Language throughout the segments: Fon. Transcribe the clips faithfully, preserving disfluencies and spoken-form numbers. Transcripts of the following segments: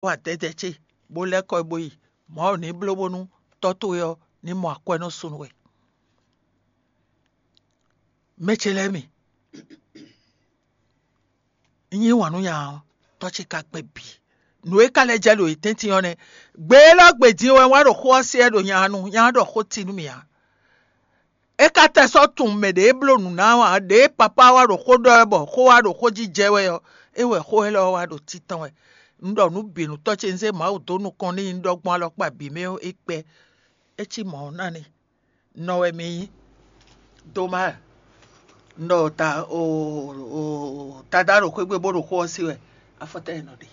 wa dɛdɛ ce, bó lɛ́ kɔ yi bó yi. Mawu ní bló bónú tɔ́ towe ɔ́ ní mɔ akwɛ́nɔ súnnu we. Mɛ ce lɛ́ɛ mi, un yí wǎn nú nya ɔ́, tɔ́ ce ka gbɛ́ bǐ. Nǔ e ka lɛ́ jɛ ɖo yě tɛ́ntin ɔ́ nɛ́. Gbe élɔ́ gbe din wɛ wá ɖo xó ɔ́ se wɛ ɖo nya nu, nya ɔ́ ɖɔ xó ti nú mì ǎ. É ka tɛ sɔ́ tunwun mɛ ɖě e bló nǔ ná ɔ́ ǎ, ɖěe papá wá ɖo xó ɖɔ wɛ bɔ xó wá ɖo xó jí jɛ wɛ ɔ́, é wɛ xó élɔ́ wá ɖo títɔn wɛ. Un ɖɔ nǔ bǐ nú tɔ́ ce, un zé Mawu dó nukɔn n'i, un ɖɔ gbɔn alɔkpa bǐ mɛ ɔ́, é kpɛ́. É cí mɔ̌ ɔ́ ná n'i. Nɔ wɛ mi nyí. Doma, un ɖɔ ta o o Tadá ɖo xwé gbe bó ɖo xó ɔ́ sí wɛ. Afɔtɛ́ e nɔ ɖe.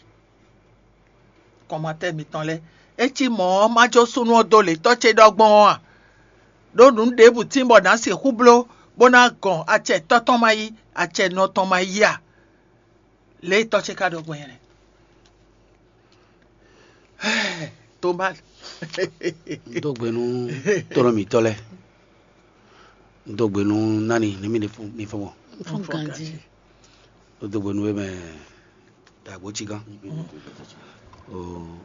Kɔnmatɛ́ mitɔn lɛ́ɛ, é cí mɔ̌ ɔ́, má jó súnnu ɔ́ dó lě tɔ́ ce ɖɔ gbɔn ɔ́ a? Ɖó nǔ ɖěbǔ tín bɔ nǎ sixú bló bó ná gɔn acɛ tɔ́ tɔn ma yí, acɛ nɔ tɔn ma yí a? Lě e tɔ́ ce ka ɖɔ gbɔn nyɛ nɛ́. Toma, Un dó gbe nú tɔ́nɔ mǐtɔn lɛ́ɛ. Un dó gbe nú nani ní mi fɔ́n mɔ. Fún ganjí. Un dó gbe nú we mɛ dàgbò cí gán. Un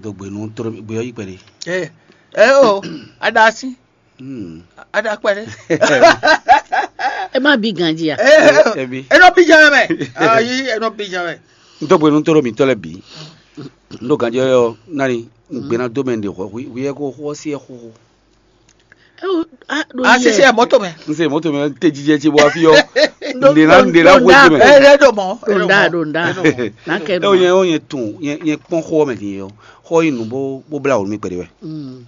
dó gbe nú tɔ́nɔ mǐ gbé ɔ́ yí kpɛɖé. Ɛ ɛ o, aɖa asi, Hmm. aɖa kpɛɖé. Ẹ má bí ganjí a? Ɛ Ebi. Ɛ nɔ bí jɛ mɛ. Ayi, ɛ nɔ bí jɛ mɛ. Un dó gbe nú tɔ́nɔ mǐtɔn lɛ́ɛ bǐ. Un dó ganjí ɔ́ nani un gbé ná dó mɛ ɖe hwɛ hwi hwi ɛ ko xó ɔ́ sí ɛ xóxó. Ẹ o, a ɖo Asisi yɛ. Ɛ mɔto mɛ. N se mɔto mɛ te jijɛ ce bɔ afi ɔ. Nde na nde na xwe ce mɛ. Ɛ ɛ ɖo mɔ. Ɖo nda ɖo nda. N'a kɛ Ɛ o nyɛ o nyɛ tun nyɛ nyɛ kpɔn xɔ mɛ din yɔ. Xɔ yi nu bo bo bla wonu mi kpɛɖe wɛ. Mm.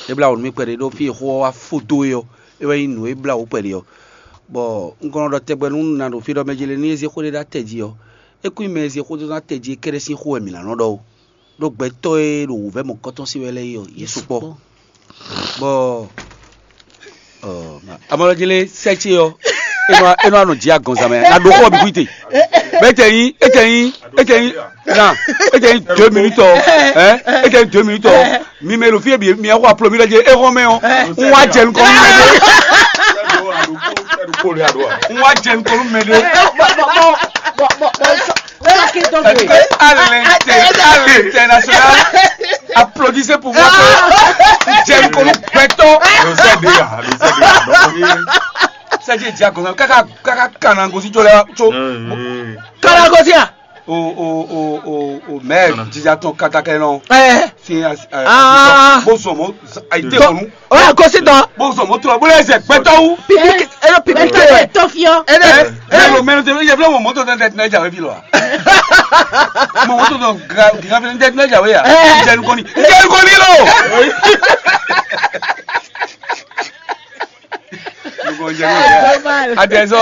E bla wonu mi kpɛɖe ɖo fi xɔ wa fo do yɔ. E wɛ yi nu e bla wo kpɛɖe yɔ. Bɔ n kɔnɔ ɖɔ tɛgbɛ nu na ɖo fi ɖɔ mɛ jele ni e ze xɔ ɖe ɖa tɛ ji yɔ. E kú mɛ e ze xɔ do na tɛ ji kɛɖɛ sin xɔ wɛ mi na nɔ ɖɔ o. Ɖo gbɛtɔ e ɖo wǔvɛ mɔkɔtɔn si wɛ lɛ yi ɔ, Yesu kpɔ. Bɔ amɔlɔjele sɛ ce ɔ, enɔ enɔ anɔ dzi agɔnzan mɛ na ɖo xɔ bi kuite. Bɛ etɛ nyi etɛ nyi etɛ nyi na etɛ nyi deux minutes ɔ, ɛ etɛ nyi deux minutes ɔ, mi mɛ ɖo fi bi mi xɔ aplo mi lɛ dze exɔ mɛ ɔ, n wa jɛ nukɔ mi mɛ de, n wa jɛ nukɔ mi mɛ de. Saki dɔ Tɛ̀lé gbe. à l'inter- à l'international. Applaudissez pour moi que Jerry Kolo gbɛtɔ. Le sɛ de ya, le sɛ de ya. Donc, Sɛ dze dze agɔnna kaka kaka kana gosi jɔ lɛ tso. euh, Kala gosi a. O o o o o mɛ jija tɔn kaka kɛ nɔ. Ɛ. Fi a Ah. a bó zɔn mɔ a yi te kɔnu. O y'a gosi dɔn. Bó zɔn mɔ tura bó lɛ zɛ gbɛtɔ wu. Pipi ɛ lɔ pipi Mɛtɔ tɛ. tɛ tɔfiɔ. Ɛ dɛ. Ɛ mɛ lo mɛ lo tɛ yɛ fila mɔ mɔtɔ tɛ tɛ tɛ jawe fi lɔ wa. Mɔ mɔtɔ tɛ gra gra fi tɛ tɛ jawe ya. Jɛ nukɔni. Jɛ nukɔni lo. Adɛsɔ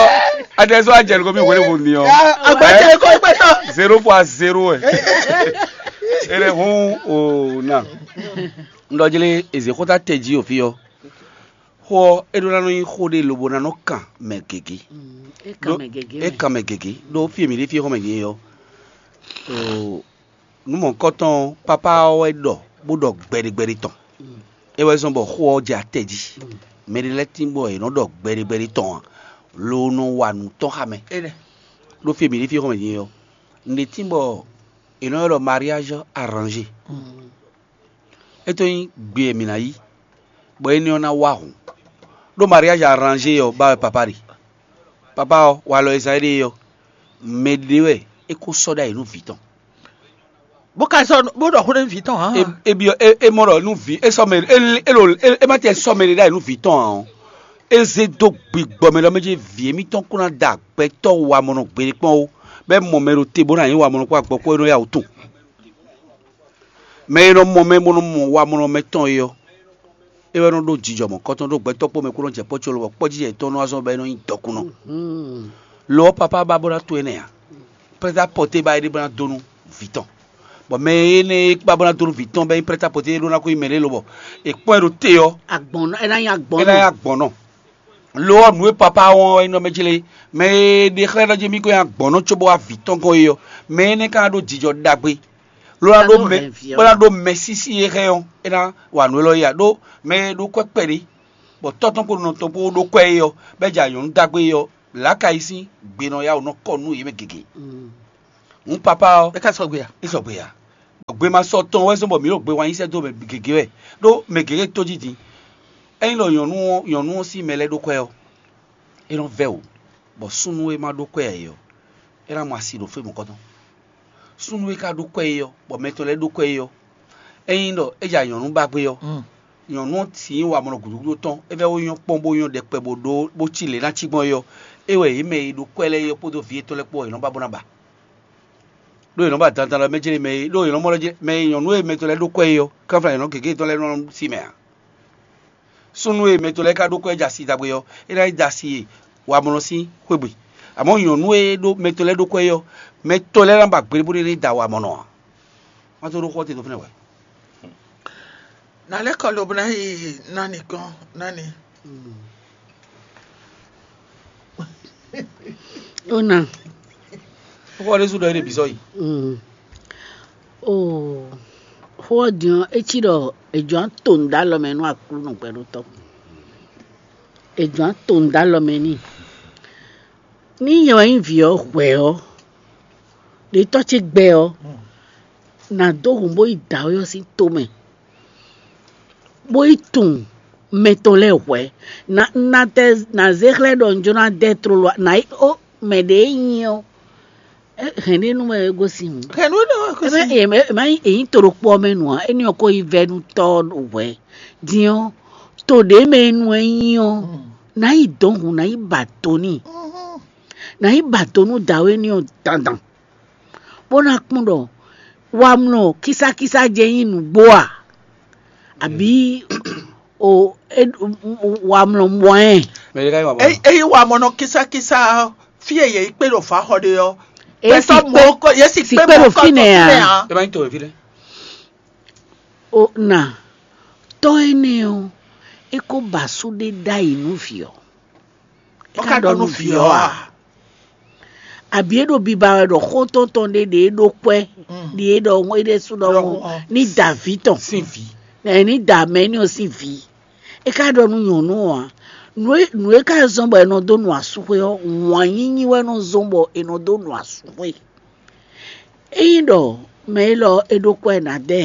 adɛsɔ ajɛ nukɔmi wele wo ni ɔ. Agbɛtɛ ko gbɛtɔ. Zéro fois zéro ɛ. Ele hun o na. Ŋdɔjele eze xota tɛ ji o fi ɔ. Xɔ e ɖo na nɔ nyi xo ɖe lobo na nɔ kan mɛ gege. E kan mɛ gege. E kan mɛ gege ɖo fi mi ɖe fi xɔ mɛ gege yɔ. O numɔkɔtɔn papa ɔ́ wɛ ɖɔ bó ɖɔ gbɛɖegbɛɖe tɔn. É wɛ zɔ́n bɔ xó ɔ́ jɛ atɛ jí. Mɛ ɖé lɛ́ɛ tín bɔ è nɔ ɖɔ gbɛɖegbɛɖe tɔn ǎ, lo nɔ wa nǔ tɔn xá mɛ. Ɖó fí e mǐ ɖe fí xɔmɛ din é ɔ́, un ɖe tín bɔ è nɔ ylɔ́ ɖɔ mariage arrangé. É tó nyí gbe e mǐ ná yí, bɔ énɛ́ ɔ́ ná wá hǔn. Ɖó mariage arrangé ɔ́ ba wɛ papa ɖe. Papa ɔ́, walɔ e zán éɖée ɔ́, mɛ ɖé wɛ é ko sɔ́ ɖ'ayǐ nú vǐ tɔn. Bó ka sɔ́ bó ɖɔ xó nú vǐ tɔn hǎn. E byɔ́ e e mɔ ɖɔ nú vǐ e sɔ́ mɛ e e lo e ma tɛ sɔ́ mɛ ɖé ɖ'ayǐ nú vǐ tɔn ǎ ɔ́, é zé dó gbigbɔ mɛ ɖɔ mɛ jí vǐ émítɔn kún ná da gbɛtɔ́ wamɔnɔ gbeɖé kpɔ́n ó, bɔ é mɔ mɛ ɖo te bó ná nyí wamɔnɔ kpó agbɔkpɔ́ e nɔ yá wǔ tun. Mɛ e nɔ mɔ mɛ bó nɔ mɔ wamɔnɔ mɛtɔn é ɔ́, é wɛ nɔ ɖó jijɔ mɔ̌kɔtɔn ɖó gbɛtɔ́ kpó mɛ kó nɔ jɛ kpɔ́ cólo bɔ kpɔ́ jijɛ yětɔn nɔ wá zɔ́n bɔ é nɔ nyí dɔkunnɔ. Lo ɔ́, papa ba bó ná to énɛ́ ǎ. Prɛ́tɛ pɔ́té ba é ɖé bó ná dó nú vǐ tɔn. Bɔ mɛ énɛ́ e ba bó ná dó nú vǐ tɔn bɔ é nyí prɛ́tɛ pɔ́té é ɖó ná ko nyí mɛ ɖé lobɔ è kpɔ́n ɛ ɖo te ɔ́, Agbɔn ɛ ná nyí agbɔn é ná nyí nɔ. Agbɔn nɔ. Lo ɔ́, nǔ e papa wɔn ɔ́ é nɔ mɛ jlé. Mɛ e ɖe xlɛ́ ɖɔ jí mì ko nyí agbɔn nɔ cóbɔ wá vǐ tɔn gɔ́n é ɔ́, mɛ énɛ́ ka ná ɖó jijɔ ɖagbe. Ló ná ɖó mɛ bó ná ɖó mɛ sísí e hɛn ɔ́, é ná wa nǔ élɔ́ ya ɖó mɛ e ɖó kwɛ́ kpɛɖé, bɔ tɔ́ tɔn kpó nɔ tɔn kpó ɖó kwɛ́ é ɔ́, bɔ é jɛ anyɔ̌nu ɖagbe é ɔ́, lǎka yi sín gbe nɔ yá wǒ nɔ kɔ nú yě mɛ gěgé. Hǔn papa ɔ́, É ka sɔgbe a? é sɔgbe ya. Gbema sɔ tɔn wɛ zɔ́n bɔ mǐ ɖo gbe wá nyi sɛ́ dó mɛ gěgé wɛ, ɖó mɛ gěgé tó jí din. Ényí ɖɔ nyɔ̌nu ɔ́, nyɔ̌nu ɔ́ sín mɛ lɛ́ɛ ɖó kwɛ́ ɔ́, é nɔ́ vɛ́ wǔ, bɔ súnnu e ma ɖó kwɛ́ ǎ é ɔ́, é ná mɔ asi ɖo fí mɔ̌kɔtɔn. Súnnu e ka ɖó kwɛ́ é ɔ́, bɔ mɛ tɔn lɛ́ɛ ɖó kwɛ́ é ɔ́, ényí ɖɔ é ja nyɔ̌nu ba gbé ɔ́, nyɔ̌nu ɔ́ cí wamɔnɔ gǔdo gúdo tɔn, é vɛ́ wó nyɔ́ kpɔ́n bó nyɔ́ ɖɛkpɛ bó ɖó bó cí lě ná cí gbɔn é ɔ́, é wɛ yě mɛ e ɖo kwɛ́ lɛ́ɛ é ɔ́ kpódó vǐ yětɔn lɛ́ɛ kpó ɔ́, yě nɔ ba bó ná ba. Ɖó yě nɔ ba dandan lɔ mɛ jlé mɛ é, ɖó yě nɔ mɔ lɔ jlé mɛ e nyɔ̌nu e mɛ tɔn lɛ́ɛ ɖó kwɛ́ é ɔ́, kánfla nyɔ̌nu gěgé tɔn lɛ́ɛ nɔ sí mɛ ǎ. Súnnu e mɛ tɔn lɛ́ɛ ka ɖó kwɛ́ jɛ asi ɖagbe ɔ́, é ná yi da asi e wamɔnɔ sín xwé gbe. Amɔ̌ nyɔ̌nu e ɖó mɛ tɔn lɛ́ɛ ɖó kwɛ́ é ɔ́, mɛ tɔn lɛ́ɛ ná ba gbe bó ɖé ní da wamɔnɔ ǎ. Má tó ɖó xó ɔ́ te dó fínɛ́ wɛ. Nǎ lɛ́ kɔ lobo ná yi ná nìkan ná ni. Ó nà. Xó ɔ́ ɖésú ɖɔ é ɖe bǐ sɔ́ yi. Oo, xó ɔ́ din ɔ́, é cí ɖɔ è jɔ̌ ná to nǔ dó alɔ mɛ nú Aklúnɔ gbɛɖótɔ́. È jɔ̌ ná to nǔ dó alɔ mɛ n'i. Ní nyɛ wɛ nyí vǐ ɔ́ hwɛ̌ ɔ́, ɖě tɔ́ ce gbɛ ɔ́, nǎ dó hǔn bó yi dǎwe ɔ́ sín tomɛ, bó yi tunwun mɛ tɔn lɛ́ɛ hwɛ̌. Na na tɛ na zé xlɛ́ ɖɔ un jló ná dɛ tlóló ná yi ó mɛ ɖě e nyí ɔ́, hɛ̌n ɖé nú mɛ e gosín hǔn. Hɛn nú ɖɔ Ebe ema ema yi eyin to ɖokpó ɔ́ mɛ nu ǎ, éní ɔ́ ko yi vɛ́ nú tɔ́ ɔ́ ɖo hwɛ̌. Din ɔ́, to ɖě mɛ e nu ɛ nyí ɔ́, nǎ yi dɔn hǔn, nǎ yi ba do n'i, nǎ yi ba do nú dǎwe éní ɔ́ dandan, bó ná kpɔ́n ɖɔ wamlɔ kísákísá jɛ nyí nǔgbó a, abǐ o wamlɔ mɔ ɛ. Mɛ ɖé ka yi wa mɔ. Eyi wa mɔ nɔ kísákísá fí e yě kpé ɖo fǎxɔ ɖe ɔ́. Èyí sì pé Yě sì sì pé pé mɔ ɖo kɔ fínɛ́ tó a? fínɛ́ a. Ẹ má nyí to wɛ fí lɛ́. O na tɔ́ énɛ́ ɔ́, é kó ba sú ɖé ɖ'ayǐ nú vǐ ɔ́. Wọ́n ká ɖɔ nú vǐ ɔ́ a? Àbí é ɖo biba wɛ ɖɔ xó tɔn tɔn ɖé ɖě é ɖó kwɛ́, ɖě é ɖɔ é ɖésú ɖɔ Ɖɔ wọn wọn. Ní dǎví tɔn, Sín vǐ. ɛ ní dǎ mɛ ní ɔ́ sín vǐ. É ká ɖɔ nú nyɔ̌nu ɔ́ ǎ. Nǔ e nǔ e ká zɔ́n bɔ è nɔ dó nu asúxwé ɔ́, wǎn yíyí wɛ nɔ zɔ́n bɔ è nɔ dó nu asúxwé. Ényí ɖɔ mɛ élɔ́ é ɖó kwɛ́ ná dɛ,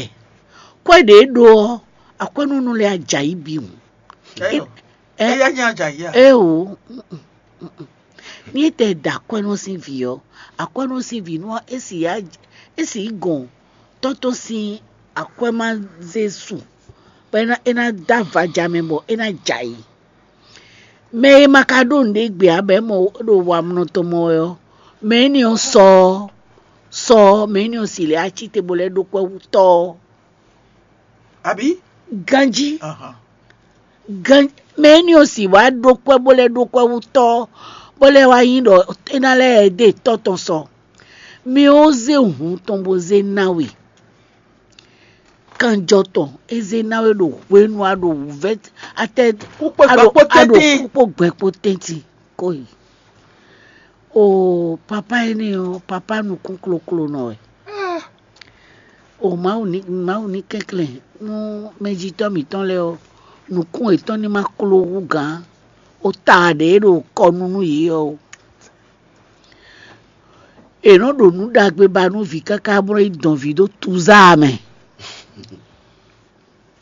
kwɛ́ ɖě é ɖó ɔ́, akwɛ́núnú lɛ́ɛ á jɛ ayǐ bǐ hǔn. Ɛyɔ. Ɛ- Eya nya dza yia. Éeǒ, ní é tɛ da akwɛ́nɔ sín vǐ ɔ́, akwɛ́nɔ sín vǐ nú é sì yá é sì yi gɔn tɔ́ tɔn sín akwɛ́mázé su, bɔ é ná é ná dó avaja mɛ bɔ é ná jɛ ayǐ. Mɛ e ma ka ɖó nǔɖé gbe ǎ bɔ é mɔ ɖo wamlɔ tɔn mɔ wɛ ɔ́, mɛ énɛ́ ɔ́ sɔ ɔ́, sɔ ɔ́, mɛ énɛ́ ɔ́ sì lɛ́ á cí te bó lɛ́ ɖó kwɛ́ wú tɔ́ ɔ́. Àbí? Ganjí Ahan. gan mɛ énɛ́ ɔ́ sì wá ɖó kwɛ́ bó lɛ́ ɖó kwɛ́ wú tɔ́ ɔ́, bó lɛ́ wá nyí ɖɔ é ná lɛ́ ɖe tɔ́ tɔn sɔ. Mi ɔ́ zé hǔn tɔn bó zé ná we. Kanjɔ tɔn é zé ná we ɖo hwenu a ɖo wǔvɛ́ atɛ Kúkpé a ɖo gbɛkpó a ɖo tɛ́ntin. Kúkpó gbɛkpó tɛ́ntin kó yi. O papa énɛ́ ɔ́, papa nukún kloklo nɔ wɛ. O Mawu ní Mawu ní kɛnklɛ́n nú mɛjitɔ́ mǐtɔn lɛ́ɛ ɔ́, nukún yětɔn ní ma kló hú gǎn. O ta ɖě ɖo kɔ nu nú yě ɔ́ o. È nɔ́ ɖo nǔ ɖagbe ba nú vǐ káká bó nɔ́ yi dɔn vǐ ɖó tuzá mɛ.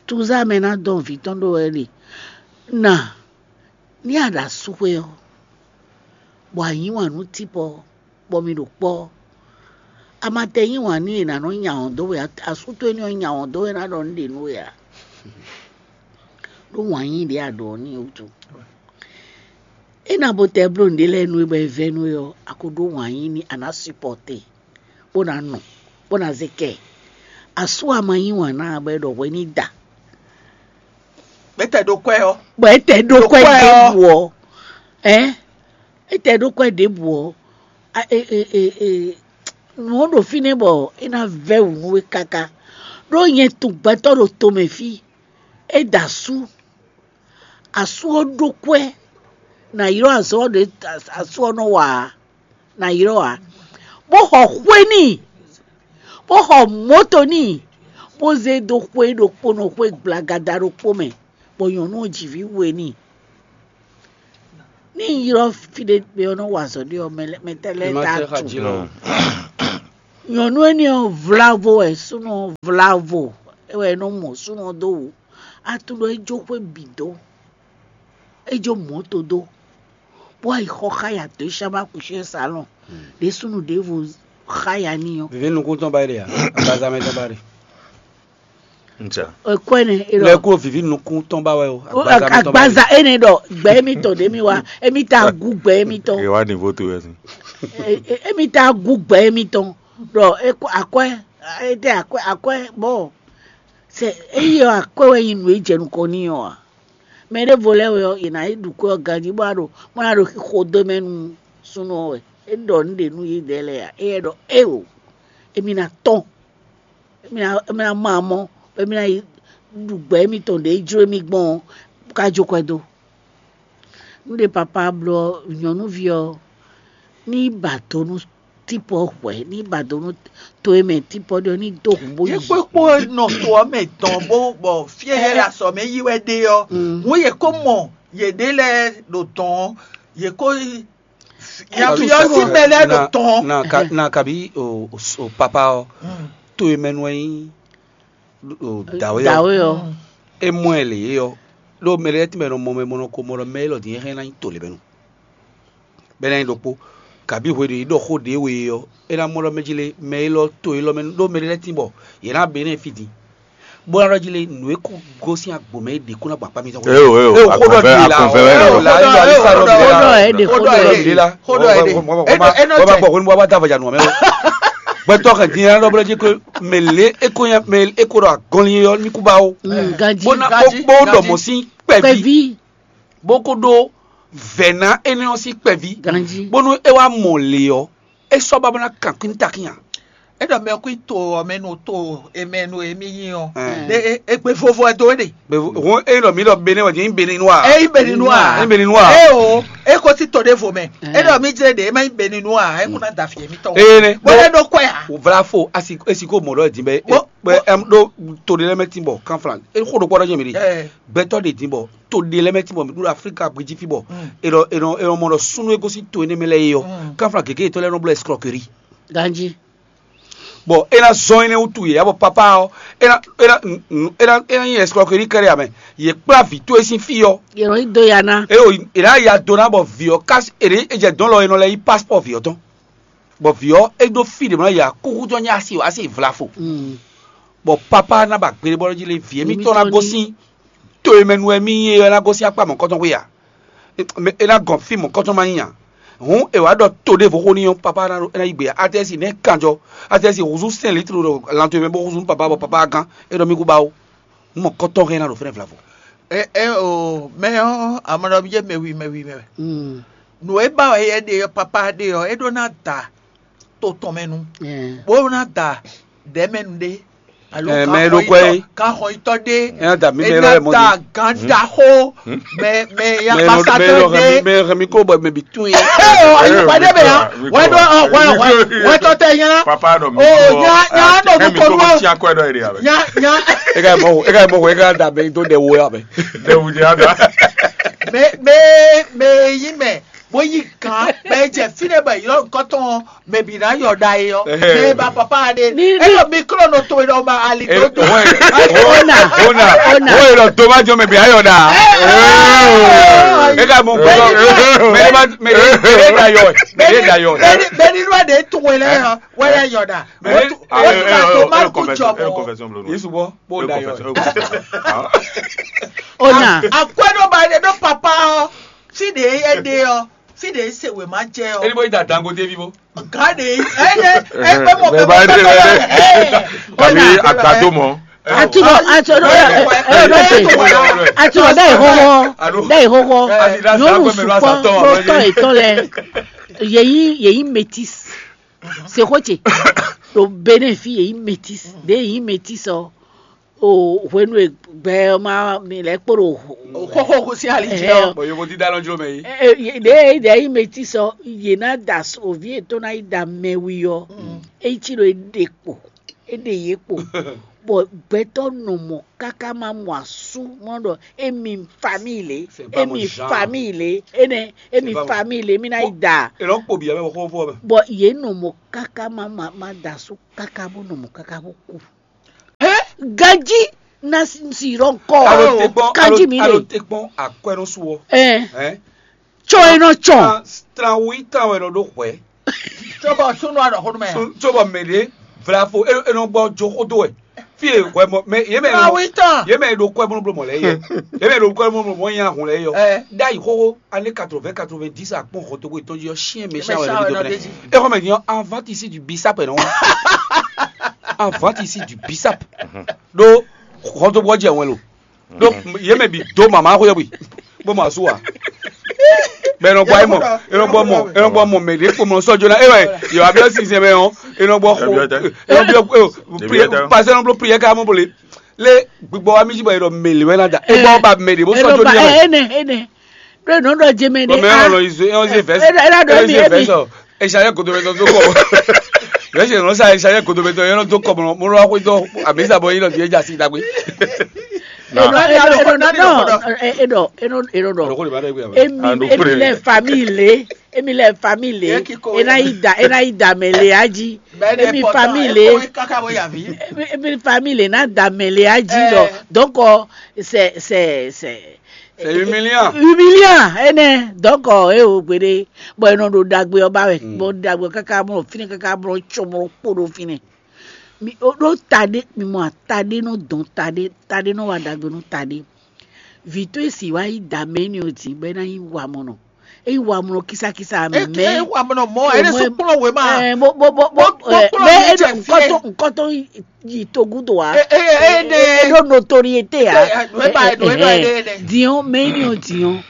Tuzá mɛ ná dɔn vǐ tɔn ɖó wɛ ɖe. Na ní a ɖo asúxwé ɔ́, bɔ a yí wǎn nú típɔ, bɔ mi ɖo kpɔ́. A ma tɛ yí wǎn n'i è nǎ nɔ nya wɔ̌n dó we ǎ. Asú towe ní ɔ́ nya wɔ̌n dó we ná ɖɔ nǔ ɖě nú we ǎ. Ɖó wǎn yí ɖě a ɖɔ ɔ́ n'i wútu. É ná bo tɛ bló nǔɖé lɛ́ɛ nú we bɔ è vɛ́ nú we ɔ́, a ko ɖó wǎn yí n'i a nǎ supɔ́te, bó ná nu, bó ná zé kɛ. Asú a ma yí wǎn ná ǎ bɔ è ɖɔ hwɛ ní da. Gbɛtɛ ɖo kwɛ ɔ́. Bɔ é tɛ ɖó kwɛ Ɖo kwɛ ɔ́. ɖěbǔ ɔ́, ɛ é tɛ ɖó kwɛ ɖěbǔ ɔ́, a- e- e- e- e- nǔ ɔ́ ɖo fínɛ́ bɔ é ná vɛ́ wǔ nú we káká. Ɖó nyɛ tunwun gbɛtɔ́ ɖo tomɛ fí, é da asú, asú ɔ́ ɖó kwɛ́, nǎ ylɔ́ azɔ̌ ɔ́ ɖě asú ɔ́ nɔ wa ǎ, nǎ ylɔ́ ǎ, bó xɔ xwé n'i, bó xɔ mɔ̌to n'i, bó zé dó xwé ɖokpónɔ xwé gblagada ɖokpó mɛ, bɔ nyɔ̌nu ɔ́ ji vǐ we n'i. Ní un ylɔ́ fí ɖé mɛ ɔ́ nɔ wa azɔ̌ ɖé ɔ́, mɛ lɛ́- mɛ tɛ́ lɛ́ɛ Ema ta tɛ xa tu. jí lɔ. Nyɔ̌nu énɛ́ ɔ́, vlavo wɛ súnnu ɔ́ vlavo, é wɛ é nɔ mɔ súnnu ɔ́ dó wǔ. A tunwun ɖɔ é jó xwé bǐ dó, é jó mɔ̌to dó, bó wá yi xɔ xá ya dǒ shámá kushɛ́n salɔn ɖě súnnu ɖěvo xá ya n'i ɔ́. Vǐví nukún tɔn ba ɖe ǎ, agbaza mɛ tɔn ba ɖe. Nca. Ẹ̀kọ́ ẹnɛ é Lɛ ɖɔ kó vǐví nukún tɔn ba wɛ o, ó, agbaza mɛ tɔn ba ɖe. Agbaza énɛ́ ɖɔ gbɛ émítɔn ɖě mì wá, émí tá gú gbɛ émítɔn. È wá ní vo to wɛ sin. Emi tá gú gbɛ émítɔn ɖɔ é kó akwɛ́, é tɛ akwɛ́ akwɛ́ bɔ sɛ éyi ɔ́ akwɛ́ wɛ nyí nǔ e jɛ nukɔn n'i ɔ́ ǎ. Mɛ ɖěvo lɛ́ɛ wɛ ɔ́, yě ná yi ɖu kwɛ́ ɔ́ ganjí bó ná ɖo bó ná ɖo xixo dó mɛ nú súnnu ɔ́ wɛ. É ɖɔ nǔ ɖě nú yědɛɛ lɛ́ɛ ǎ. Éyɛ́ ɖɔ éeǒ, émí ná tɔ́n, émí ná émí ná mɔ amɔ́, bɔ émí ná yi ɖu gbɛ émítɔn ɖě jló émí gbɔn ɔ́, bó ká jó kwɛ́ dó. Nú ɖé papá bló ɔ́, nyɔ̌nuví ɔ́ ní ba do nú típɔ hwɛ̌, ní ba do nú to e mɛ típɔ ɖe ɔ́ ní dó hǔn bó Yě yi. Kpó kpó nɔ to ɔ́ mɛ dɔn bó bɔ fí e yě ɖo azɔ̌ mɛ yi wɛ ɖe ɔ́, Mm. hǔn yě kó mɔ yěɖée lɛ́ɛ ɖo dɔn ɔ́, yě kó yi- ya fi ɔ́ sín mɛ lɛ́ɛ ɖo dɔn ɔ́. Na ka- na kabi o o- o papa ɔ Mm. to e mɛ nú ɛ nyí o dǎwe ɔ Dǎwe ɔ. Mm. É mɔ ɛ lě é ɔ ɖó mɛ lɛ́ɛ tɛ́nmɛ nɔ mɔ mɛ mɔ nɔ ko mɔ ɖɔ mɛ élɔ́ din é hɛn ná nyí to lě mɛ nu bɛ́ ná nyí ɖokpó. Kabi hwe ɖě é ɖɔ xó ɖě we é ɔ́, é ná mɔ ɖɔ mɛ jí lé mɛ élɔ́ to élɔ́ mɛ ɖó mɛ lɛ́ɛ tín bɔ yě ná bɛ énɛ́ fí din bó ná ɖɔ jí lé nǔ e kó gosín agbo mɛ é ɖě kó ná gbɔ akpá mitɔn xwé. Eo, eo, Eo, xó ɖɔ agbɔ̌nvɛ́, dě la, agbɔ̌nvɛ́ wɛ eo, ɖɔ. La, eo, eo, alo sa ɖɔ Xó ɖɔ ɛ ɖe, xó ɖɔ ɛ ɖɔ ɖe. Dě la. Xó ɖɔ ɛ ɖe. Wọ́n máa- Eno wọ́n máa tɛ. Gbọ́ pé ní wọ́n bá dá àbàjá nù ọ́ mẹ́ o. Gbẹ́tọ́ kan dín ẹran lọ́bẹ̀rẹ́ jí pé mèlé é kó yẹn mèlé é kó ɖɔ agɔnlin yọ ní kú bá o. Mm, ganjí. Bó ná Ganjí, bó bó ganjí. Dɔ̀mọ̀ sí kpɛ̀ví. Kpɛ̀ví. Bó kó ɖó vɛ̌ná énɛ́ ɔ́ sín kpɛ̀ví. Ganjí. Bónú é wá mɔ lě ɔ́, é sɔ́ ba bó ná kan kún ní takín ǎ. É ɖɔ mɛ kú to ɔ́ mɛ nu to emɛ nu emi nyi ɔ́. Ɛɛ. Ɖe e- egbe vovo ɛ do é ɖe. Bɛ vo- hɔn e ɖɔ mi ɖɔ bene wɛ nyɛ bene nua. Eyi beni nu a. Ni bene nua. E o e ko ti to ɖe vo mɛ. Ɛɛ. E ɖɔ mi jɛ ɖe e ma nyi beni nu a e ko na da fi emi tɔ. Ee ne. Bɔ ne ɖo kɔɛ a. O vla fo asi esi ko mɔ ɖɔ di bɛ Bɔ- bɛ ɛm ɖo to ɖe lɛ mɛ ti bɔ kan flan e ko ɖo kpɔ ɖɔ jɛ mi ɖe. Ɛɛ. Gbɛtɔ ɖe di bɔ to ɖe lɛ mɛ ti bɔ mi ɖo Afrika gbeji fi bɔ. Mm. E ɖɔ e ɖɔ e ɖɔ mɔ ɖɔ sunu e gosi to ene mɛ lɛ yi yɔ. Mm. Kan flan gege etɔ lɛ nɔ blɔ escroquerie. Ganji. Bɔ é ná zɔn énɛ́ wútu yě, abɔ papá ɔ́, é ná é ná é ná é ná nyí escroquerie kɛ́ɖɛ́ amɛ. Yě kplá vǐ towe sín fí ɔ́, Yě nɔ yí do ya ná. É o è nǎ ya do ná bɔ vǐ ɔ́ ká è ɖě è jɛ dɔ̌n lɔ è nɔ lɛ́ yí passport vǐ ɔ́ tɔn. Bɔ vǐ ɔ́ é ɖó fí ɖě mɔ yě akúkú tɔn nyí asi o asi vlafo. Mm. Bɔ papá ná ba gbeɖé bɔ jí lé vǐ émítɔn ná Émítɔn ní- gosín to e mɛ nu wɛ mì nyí é ɔ́ ná gosín akpá mɔ̌kɔtɔn xwé a? Mɛ é ná gɔn fí mɔ̌kɔtɔn ma nyí a? Hǔn è wǎ ɖɔ to ɖěvo xó n'i ɔ́, papá ná ɖo é ná yí gbe ǎ. Atɛ́si nɛ̌ kanjɔ? Atɛ́si húzú sɛ́n litru ɖo lanto mɛ bó húzú nú papá bɔ papá gán. É ɖɔ mì kú ba ó. Nú mɔ̌kɔtɔn hɛn ná ɖo fɛ́nɛ vlavo. E e o mɛ ɔ́ amɔɖɔbí jɛ mɛwi mɛwi mɛ wɛ. Mm. Nǔ e ba wɛ yɛ ɖe ɔ́, papá ɖe ɔ́, é ɖó ná da to tɔn mɛ nu, Mm. bó ná da ɖɛ̌ mɛ nu ɖé. Alo Ɛ, mɛ e ɖo kwɛ é. Kan xɔ yitɔ ɖé. Ɛ, da mi É mɛ ná lɔ mɔ da di. Gan da xó. Mɛ mɛ ya Mɛ e nɔ- pasa mɛ e tɔ nɔ hɛn mi- ɖé. Mɛ e hɛn mi kó bɔ mɛ bi tún yé. Ɛ o ayi pàdé bɛ yan. Wɛ ɖɔ ɔ wɛ wɛ wɛ tɔ tɛ yẹn na. Papa ɖɔ mi O nya nya nɔ du kɔnu o. Nya nya. E ka mɔ e ka mɔ e ka da bɛ do ɖe wo ya bɛ. Ɖe wu di ada. Mɛ mɛ mɛ yi mɛ bó yí gan bɛ jɛ fi ɖe bɛ yɔ nkɔtɔn mɛ bi na yɔ da yi yɔ. Ɛhɛ. Mɛ ba papa ɖe. Ni- e yɔ mi klo nɔ to yi ɖɔ ma ali Ɛ, tó dùn. Wọ́n Ona, ona, ona. Wọ́n yìí lọ tó má jọ mẹ bí ayọ̀ dà. Ẹ, ẹ, E ka mọ Bẹ́ẹ̀ni, nkɔtɔ. Mẹ de ma mẹ de mẹ de da yọ ẹ. Mẹ de da yọ ẹ. Bɛni bɛni ló de tún wẹlẹ hàn wẹlẹ yọ̀dà. Bẹ́ẹ̀ni, Wọ́n tún ẹ, wọ́n tún ẹ, ka ẹ, tó ẹ, má ẹ, kú confession, jọ ẹ, bọ̀. Confession, bro. Yìí sùgbọ́n. Bó da yọ ẹ. Akwɛ́ ɖó ba ɖe ɖó papa ɔ, fí ɖe é ɖe ɔ, fí ɖe é se wě má jɛ ɔ. Ẹni bó yìí da dangote bí bó. Gán ɖe é ɖe é pé mọ̀ pé Bẹ́ẹ̀ bá mọ̀ dé pé bẹ́ẹ̀. Ẹ, Kàbí ọ̀nà. Àgbàdo mọ́. Àtúbọ̀ àtúbọ̀ Bẹ́ẹ̀, ẹ, bẹ́ẹ̀, ẹ, bẹ́ẹ̀, bẹ́ẹ̀, bẹ́ẹ̀, bẹ́ẹ̀. Àtúbọ̀ bẹ́ẹ̀ ìhóhó Àló. Bẹ́ẹ̀ ìhóhó Àti ìdá Nyɔnu sàkó mẹ́lú sùpọ̀ àsàtọ̀ ló ọ̀rọ̀ tọ́ yìí. Ìtọ́ lɛ yèyí yèyí métis. Sèkótsè ɖo Benin fí yèyí métis. Ɖě yèyí métis ɔ o hwenu e gbɛ ɔ ma mi lɛ kpó ɖo Xóxó kú sí ali jẹ́ ọ. Bɔn yovo dídá lɔ jló mɛ yìí. Ɖě ɖě yí métis ɔ yě ná da oví ètò ná yi da mɛwi ɔ. Eyi tí ɖo é ɖe kpo é ɖe yě kpo. Bɔ gbɛtɔ́ nɔ mɔ káká má mɔ asú mɔ ɖɔ émi famille lé, émi famille lé, énɛ́ émi famille lé, émi ná yi da. Èlɔ kpo bǐ abẹ́ xó fó abẹ́. Bɔ yě nɔ mɔ káká má má má da asú káká bó nɔ mɔ káká bó kú. Ganjí ná si rɔ kɔ. Alo te kpɔn, alo, kanjí mi alo lé. Te kpɔn akwɛ́nɔ́ sú ɔ. Ɛ Hɛn. Tsɔ e nɔ tsɔn. Tran tran wí tran wɛ nɔ ɖó hwɛ̌. Tso bɔ súnú anɔ xó nú mɛ. Tso bɔ mɛ ɖě vlafo e e nɔ gbɔ jo xó dó wɛ. Fi e hwɛ mɔ mɛ yě mɛ Tran wí tɔn. Yě mɛ ɖo kɔɛ mɔ bló mɔ lɛ yɛ. Yě mɛ ɖo kɔɛ mɔ bló mɔ nya hun lɛ yɔ. Ɛ. Ɖ'ayǐ xóxó ané quatre-vingts quatre-vingt-dix akpɔn xɔtogo ìtɔnjí ɔ́ syɛn mɛ syɛn wɛ nɔ ɖo dé. Exɔ mɛ din ɔ́, avant ici du bisap nɔ. Avant ici du bisap. Ɖó xɔtogo ɔ́ jɛ wɛn lo. Donc yě mɛ bǐ dó mama xwé bwi bó mɔ asú wa. Bɛ e nɔ gbɔ ayé mɔ, e nɔ gbɔ mɔ, e nɔ gbɔ mɔ mɛ ɖě kpomɔ sɔ́ jóná. E wɛ yɔ abiɔ sinsɛn mɛ ɔ́, e nɔ gbɔ xo, e nɔ biɔ e o, prière, pasɛ nɔ bló prière ká mɔ bole. Lé gbigbɔ wa mi jí bɔ e ɖɔ mɛ lě wɛ ná da. E gbɔ ba mɛ ɖě bó sɔ́ jóná mɛ. Ene ene ɖo nɔ ɖɔ jeme ɖe. Bɔn mɛ ɔlɔ izo e ɔn ze vɛs. E ɖɔ e ɖɔ mi e mi. Esa yɛ godomɛtɔ dó kɔ. Yɛ sɛ nɔ sa esa yɛ godomɛtɔ yɛ nɔ dó kɔ mɔ mɔ lɔ xwedɔ amisa bɔ yɛ nɔ di edza si dagbe. Enɔ enɔ enɔ enɔ enɔ enɔ dɔ. Emi emi lɛ famille lé, emi lɛ famille lé, ena yi da ena yi da mɛ lé aji. Emi famille lé, emi famille lé na da mɛ lé aji dɔ. Donc c'est c'est c'est C'est humiliant. Humiliant, enɛ. Donc e o gbede, bɔ e nɔ ɖo ɖagbe ɔ́ ba wɛ, bɔ ɖagbe ɔ́ káká mɔ fínɛ́ káká mɔ tsɔmɔ kpo ɖo fínɛ́. Mi o ɖó taɖé, mi mɔ taɖé nɔ dɔn taɖé, taɖé nɔ wa ɖagbe nú taɖé. Vǐ towe si wá yi da mɛ énɛ́ ɔ́ din bɔ é ná nyí wamɔnɔ. É nyí wamɔnɔ kísákísá mɛ. É wamɔnɔ mɔ, é ɖésú kplɔ́n wěma. Ɛ, bó bó bó bó Bó- bó ɛ, kplɔ́n mɛ mɛ é jɛ nɔ fíɛ. Nkɔtɔn nkɔtɔn yi yi togun do wa. E- e- e- ne- E ɖo notoriété ya. E- e- e- e- e- e- Diɔn mɛ énɛ́ ɔ́ diɔn.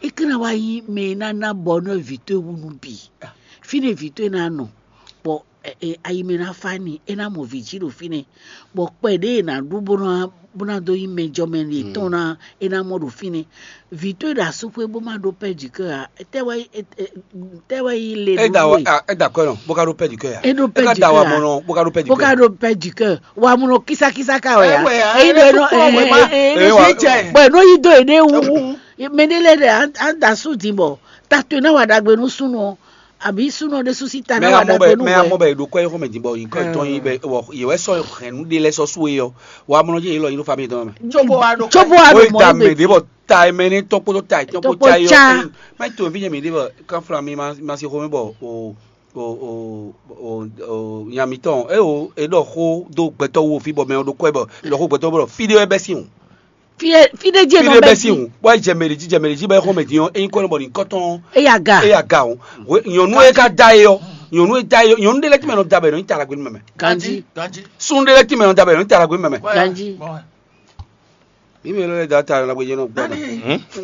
É ká ná wá nyí mɛ e ná ná bɔ nɔ vǐ towe wú nú bǐ. Fínɛ́ vǐ towe ná nɔ. Bɔ ɛ- ɛ- ayi mɛ ná fa ni, é ná mɔ vǐ jí ɖo fínɛ́. Bɔ kpɛ ɖě e ná ɖu bó ná bó ná dó nyí mɛjɔmɛ yětɔn ná é ná mɔ ɖo fínɛ́. Vǐ towe ɖo asúxwé bó má ɖó pɛ́ jǐ kɛ ǎ. Tɛ́ wɛ é- é- tɛ́ wɛ yí le É da nú wa we. Ah, é da kɔɛ nɔ, bó ka ɖó pɛ́ du kɛ́ ya. É ɖó pɛ́ É ka du da kɛ́ wa ya. Mɔnɔ, bó ka ɖó pɛ́ du Bó kɛ́. Ka ɖó pɛ́ du kɛ́. Wa munɔ kísákísá ka wɛ ya. Ɛ wɛ ya, Eyi é ɖɔ lɛ́ nɔ tún kpɔ́n wɛ ma. É lɛ́ wá. Tún jɛ. Bɔ nɔ yi dó yě ɖe wú. Mɛ ɖé lɛ ɖe an da sú din bɔ. Ta to ná wa ɖagbe nú súnɔ. Àbí súnɔ ɖé sú sí ta Mɛ ná wa amɔ ɖagbe bɛ nú mɛ amɔ wɛ. Bɛ ɖo kɔ yɛ xɔmɛ din bɔ yi kɔ tɔn yi bɛ wɔ yɛ wɛ sɔ hɛn nu ɖé lɛ sɔ sú yɛ. Wa munɔ jɛ yɛ lɔ yi ɖo fami tɔn mɛ. Tsobo wa ɖo. Tsobo wa Ó ɖo yi ta mɛ mɔ ɖé bɔ ta mɛ ní tɔkpótó ta tɔkpó Tɔkpó ta yɔ. Ca. Mɛ tó fi nyɛ mi ɖé bɔ kanfla mi ma ma si xɔmɛ bɔ o o o o o nya mitɔn e o e ɖɔ xó dó gbɛtɔ́ wo fi bɔ mɛ ɔ ɖo kɔɛ bɔ ɖɔ xó gbɛtɔ́ bɔ fi ɖé wɛ bɛ sin o. Fi e- fi ɖe jí fi enɔ ɖé bɛ bɛ sin sin. O wa jɛ mɛ ɖe jí jɛ mɛ ɖe jí bɛ xɔmɛ din ɔ eyin kɔ nɔ bɔ ní kɔtɔn. Eya ga. Eya ga o. Nyɔnu e ka da e yɔ nyɔnu e da e yɔ nyɔnu ɖe lɛ tí mɛ nɔ da bɛ nɔ ní ta la gbé mɛ. Ganji. Ganji. Sun ɖe lɛ tí mɛ nɔ da bɛ nɔ ní ta la gbé mɛ. Ganji. Bɔn Mi mɛ lɔ lɛ da ta la gbé jɛ nɔ gbɔ. Dani.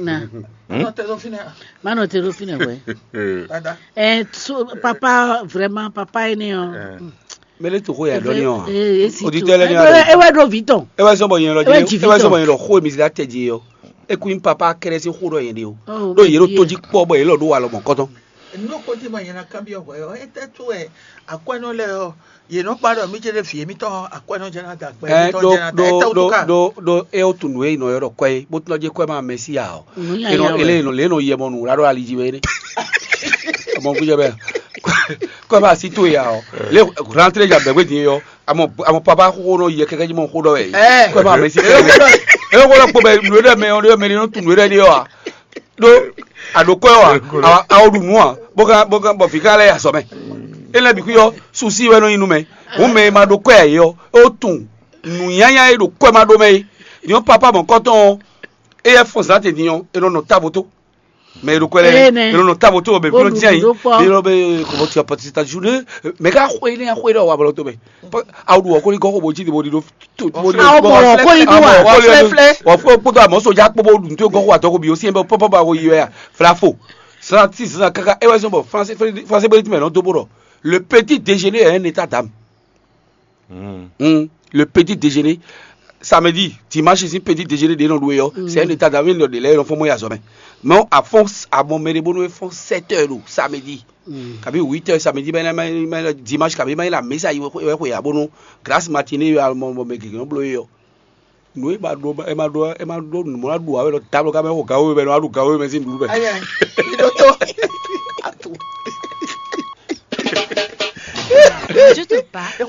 Na. Nɔ tɛ lɔ fi nɛ. Ma nɔ te ɖo fi nɛ wɛ. Dada. Ɛ so papa vraiment papa ye ne ɔ. Mɛ lɛ to ko ya dɔnni ɔ. Esi to. Auditeur lɛ ni Ewɛ ɖo vi tɔn. E wɛ sɔn bɔ yɛn lɔ Ewɛ ji jɛ e wɛ sɔn bɔ yɛn lɔ xo mi si la tɛ ji yɔ. E kun papa kɛrɛ si xo dɔ yɛn de o. Ɖo yɛ ɖo to ji kpɔ bɔ yɛ lɔ ɖo wa lɔ mɔ kɔtɔn. Nú kó tí mo yẹn ná kábíyọ̀ hwɛ́ ɔ́, é tɛ́ tó wɛ akwɛ́nɔ lɛ́ɛ ɔ́, yě nɔ kpa ɖɔ mí jɛ ɖé vǐ émítɔn akwɛ́nɔ jɛ ná da gbɛ Ɛ émítɔn ɖo jɛ ná da ɖo é tɛ́ wú ɖo tó ká. Ɖo ɖo é wó tunwun é nɔ ylɔ́ ɖɔ kwɛ́ é, bó tunwun ɔ́ jɛ kwɛ́ ma mɛ sí ǎ ɔ́. Nǔ nya Enɔ nya ele wɛ. Enɔ lě nɔ yɛ mɔ nǔ wlá ɖo ali jí wɛ é nɛ. Ọmọ kú jẹ bẹ́ẹ̀. Kwɛ́ ma sí tó ya ɔ́. Lě rantré ja bɛ̀gbé din é ɔ́. Amɔ amɔ papa xó nɔ yɛ kɛkɛ jí mɔ xó ɖɔ wɛ. Ɛ. Kwɛ́ ma mɛ sí kɛkɛ. É xó lɔ kpo bɛ nǔ é ɖɔ mɛ ɔ́ ɖɔ mɛ ní nɔ tunwun é ɖɔ é ɔ́. Ɖó àɖókò́ ɛ wa awo ɖu nǔ a bó ká bó ká bɔ vǐ ká lɛ́ yi azɔ̌ mɛ. É lɛ́ bǐ xwí ɔ́, susi wɛ nɔ nyi nú mɛ. Hǔn mɛ e ma ɖó kɔ́ ɛ ǎ é ɔ́, é wó tunwun nǔnyanya e ɖo kɔ́ ɛ ma ɖó mɛ é. Nyɔ̌ papa mɔ̌kɔtɔn ɔ́, éyɛ́ fɔ́n zǎn te din ɔ́, è nɔ nɔ távo tó. Mɛ e ɖo kɔ́ ɛ lɛ́ɛ, Énɛ́. È nɔ nɔ távo tó bɔ mɛ Bó fínɔ ɖu dín ayǐ. Nǔ ɖó kpɔ́. È nɔ bɛ kɔmɔtì apɔtì ta ju ɖé. Mɛ ká xwé énɛ́ xwé ɖɔ wa bɔlɔ tó mɛ. Awo ɖu ɔ́ kó ní gɔ́ xó bó jí bo ɖi ɖó. Awo mɔ ɔ́ kó ní ɖó wa. Wɔ fúló kpódó àmọ́ sójà kpó bó ɖu tó gɔ́ xó àtɔkù bí ó sí ɛ bɛ pɔ́pọ́ bá wo yi wɛ ya. Flafo. Zan ti zan kaka é wɛ zɔn bɔ français français bɛ ti mɛ nɔ dó bó ɖɔ. Le petit déjeuner est un état d'âme. Hmm. Le petit déjeuner. samedi, dimanche sín petit déjeuner ɖě nɔ ɖu é ɔ́, c'est un état d'âme, nɔ ɖe lɛ́ɛ nɔ fɔ́n mɔ yi azɔ̌ mɛ. Mɛ à fɔ́n à mɔ mɛ ɖé bónú é fɔ́n sept heures ɖo samedi, kabi huit heures samedi bɛ na ma ma dimanche kabi ma yi la mesa yi wɛ xwe ya bónú grâce matinée yɔ mɔ mɛ gěgé nɔ bló é ɔ́. Nǔ e ma ɖó e ma ɖó e ma ɖó nǔ mɔ ná ɖu ǎ wɛ ɖɔ tablo ka mɛ xo gawo mɛ nɔ aɖu gawo mɛ sín nǔɖuɖu mɛ. Ayɛ, iɖótó. Je te parle.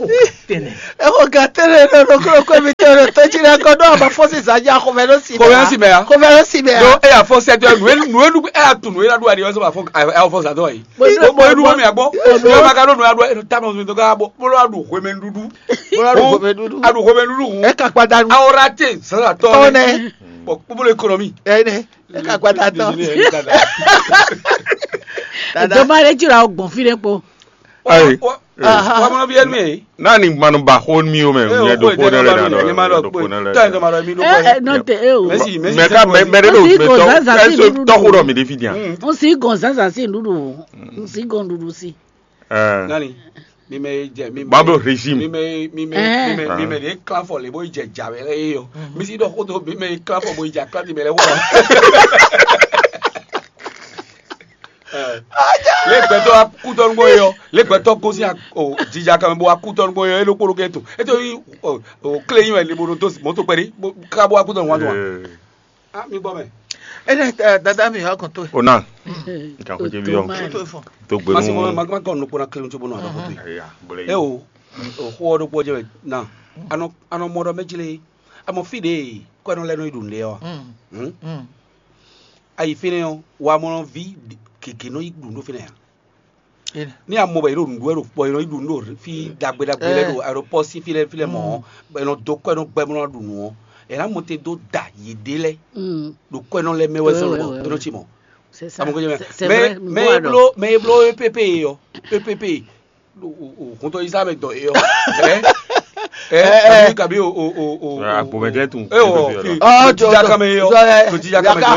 Exɔ gatɛnɛ ɖo ɖoklo kɔ mi tɛ ɖo tɔjí ɖe kɔ ɖo aba fɔsi zanya xɔmɛ ɖo si Xɔmɛ ɖo si mɛ ya. Xɔmɛ ɖo si mɛ ya. Ɖo eya fɔ sɛtɔ nue nue nu eya tu nue la ɖu aɖi wɛ sɔ ba fɔ ayi fɔ sa dɔ yi. Bo bo nu mi agbɔ. Nue ma ka ɖo nue aɖu ayi ta ma mi dɔ ka bɔ bolo aɖu xɔmɛ nuɖuɖu. Bolo aɖu xɔmɛ nuɖuɖu. Aɖu xɔmɛ nuɖuɖu. Eka kpada nu. Awɔra te sasa tɔ. Tɔ nɛ. Bɔ bolo ekonomi. Ɛnɛ. Eka kpada tɔ. Doma ɖe jira o gbɔn fi ɖe kpo. Ayi. Wa mɔ bi ɛnu ye. N'a ni manu ba xó mi o mɛ nyɛ ɖo xó ɖe lɛ na ɖɔ ɖo xó ɖe lɛ. Tɔ ɛn tɔ ma ɖɔ mi ɖo kɔ. Nɔ te e o. Mɛsi mɛsi. Mɛ ka mɛ mɛ ɖe ɖo mɛ tɔ ɛsɛ tɔxu ɖɔ mi ɖe fi dian. N si gɔn zazã si nuɖuɖu. N si gɔn nuɖuɖu si. Ɛɛ Nani. Mi mɛ jɛ mi mɛ. Bablo régime. Mi mɛ mi mɛ mi mɛ mi mɛ de klan fɔ le bo jɛ ja wɛ lɛ ye yɔ. Mi si ɖɔ xó to mi mɛ klan fɔ bo jɛ aklan ti mɛ lɛ wɔ. Le gbɛtɔ akutɔnu gbɔ yɔ le gbɛtɔ gosi o jija kan bo akutɔnu gbɔ yɔ elo kpolo kɛ to eto yi o kle yi wɛ le bo do mɔto kpɛri ka bo akutɔnu wa do wa. Ah mi gbɔ mɛ. Ene dada mi yɔ kɔn to. Ona nka ko jɛ bi yɔ To fɔ. To Ma se gbenu. ma ma kɔ nukpɔ na kle muso bonu a dɔgɔ to yi. Eya bole. E o o xɔ ɖo kpɔ jɛ na anɔ anɔ mɔ ɖɔ mɛ jile amɔ fi de kɔ ɛnɔ lɛ nɔ yi ɖu nde yɔ. Mm. Ayi fínɛ́ ɔ́ wa mɔ vi keke nɔ yi ɖu ɖó fínɛ́ ya. Ene. Ní a mɔ bɔ yě ɖo nǔɖuɖu wɛ ɖo kpɔ yě nɔ yi ɖu nǔ ɖo fí ɖagbe ɖagbe lɛ ɖo aeroport sín fí lɛ́ɛ fí lɛ́ɛ mɔ ɔ́ bɔ è nɔ dó kɔ ɛ nɔ gbɛ bó nɔ ɖu nǔ ɔ́ è nǎ mɔ te dó da yěɖée lɛ́ɛ ɖo kɔ ɛ nɔ lɛ́ mɛ wɛ zɔn lɔ é nɔ ci mɔ. C'est ça. Amɔ kɔjá mɛ C'est- c'est mɛ vrai. mɛ e bló mɛ e bló E P P e ɔ E P P o o o kɔntɔ yi sá mɛ dɔ e ɔ ɛ ɛ kabi kabi o o o o Agbomɛjɛ tun. e ɔ fi Oh, to jija kame e ɔ to jija kame e ɔ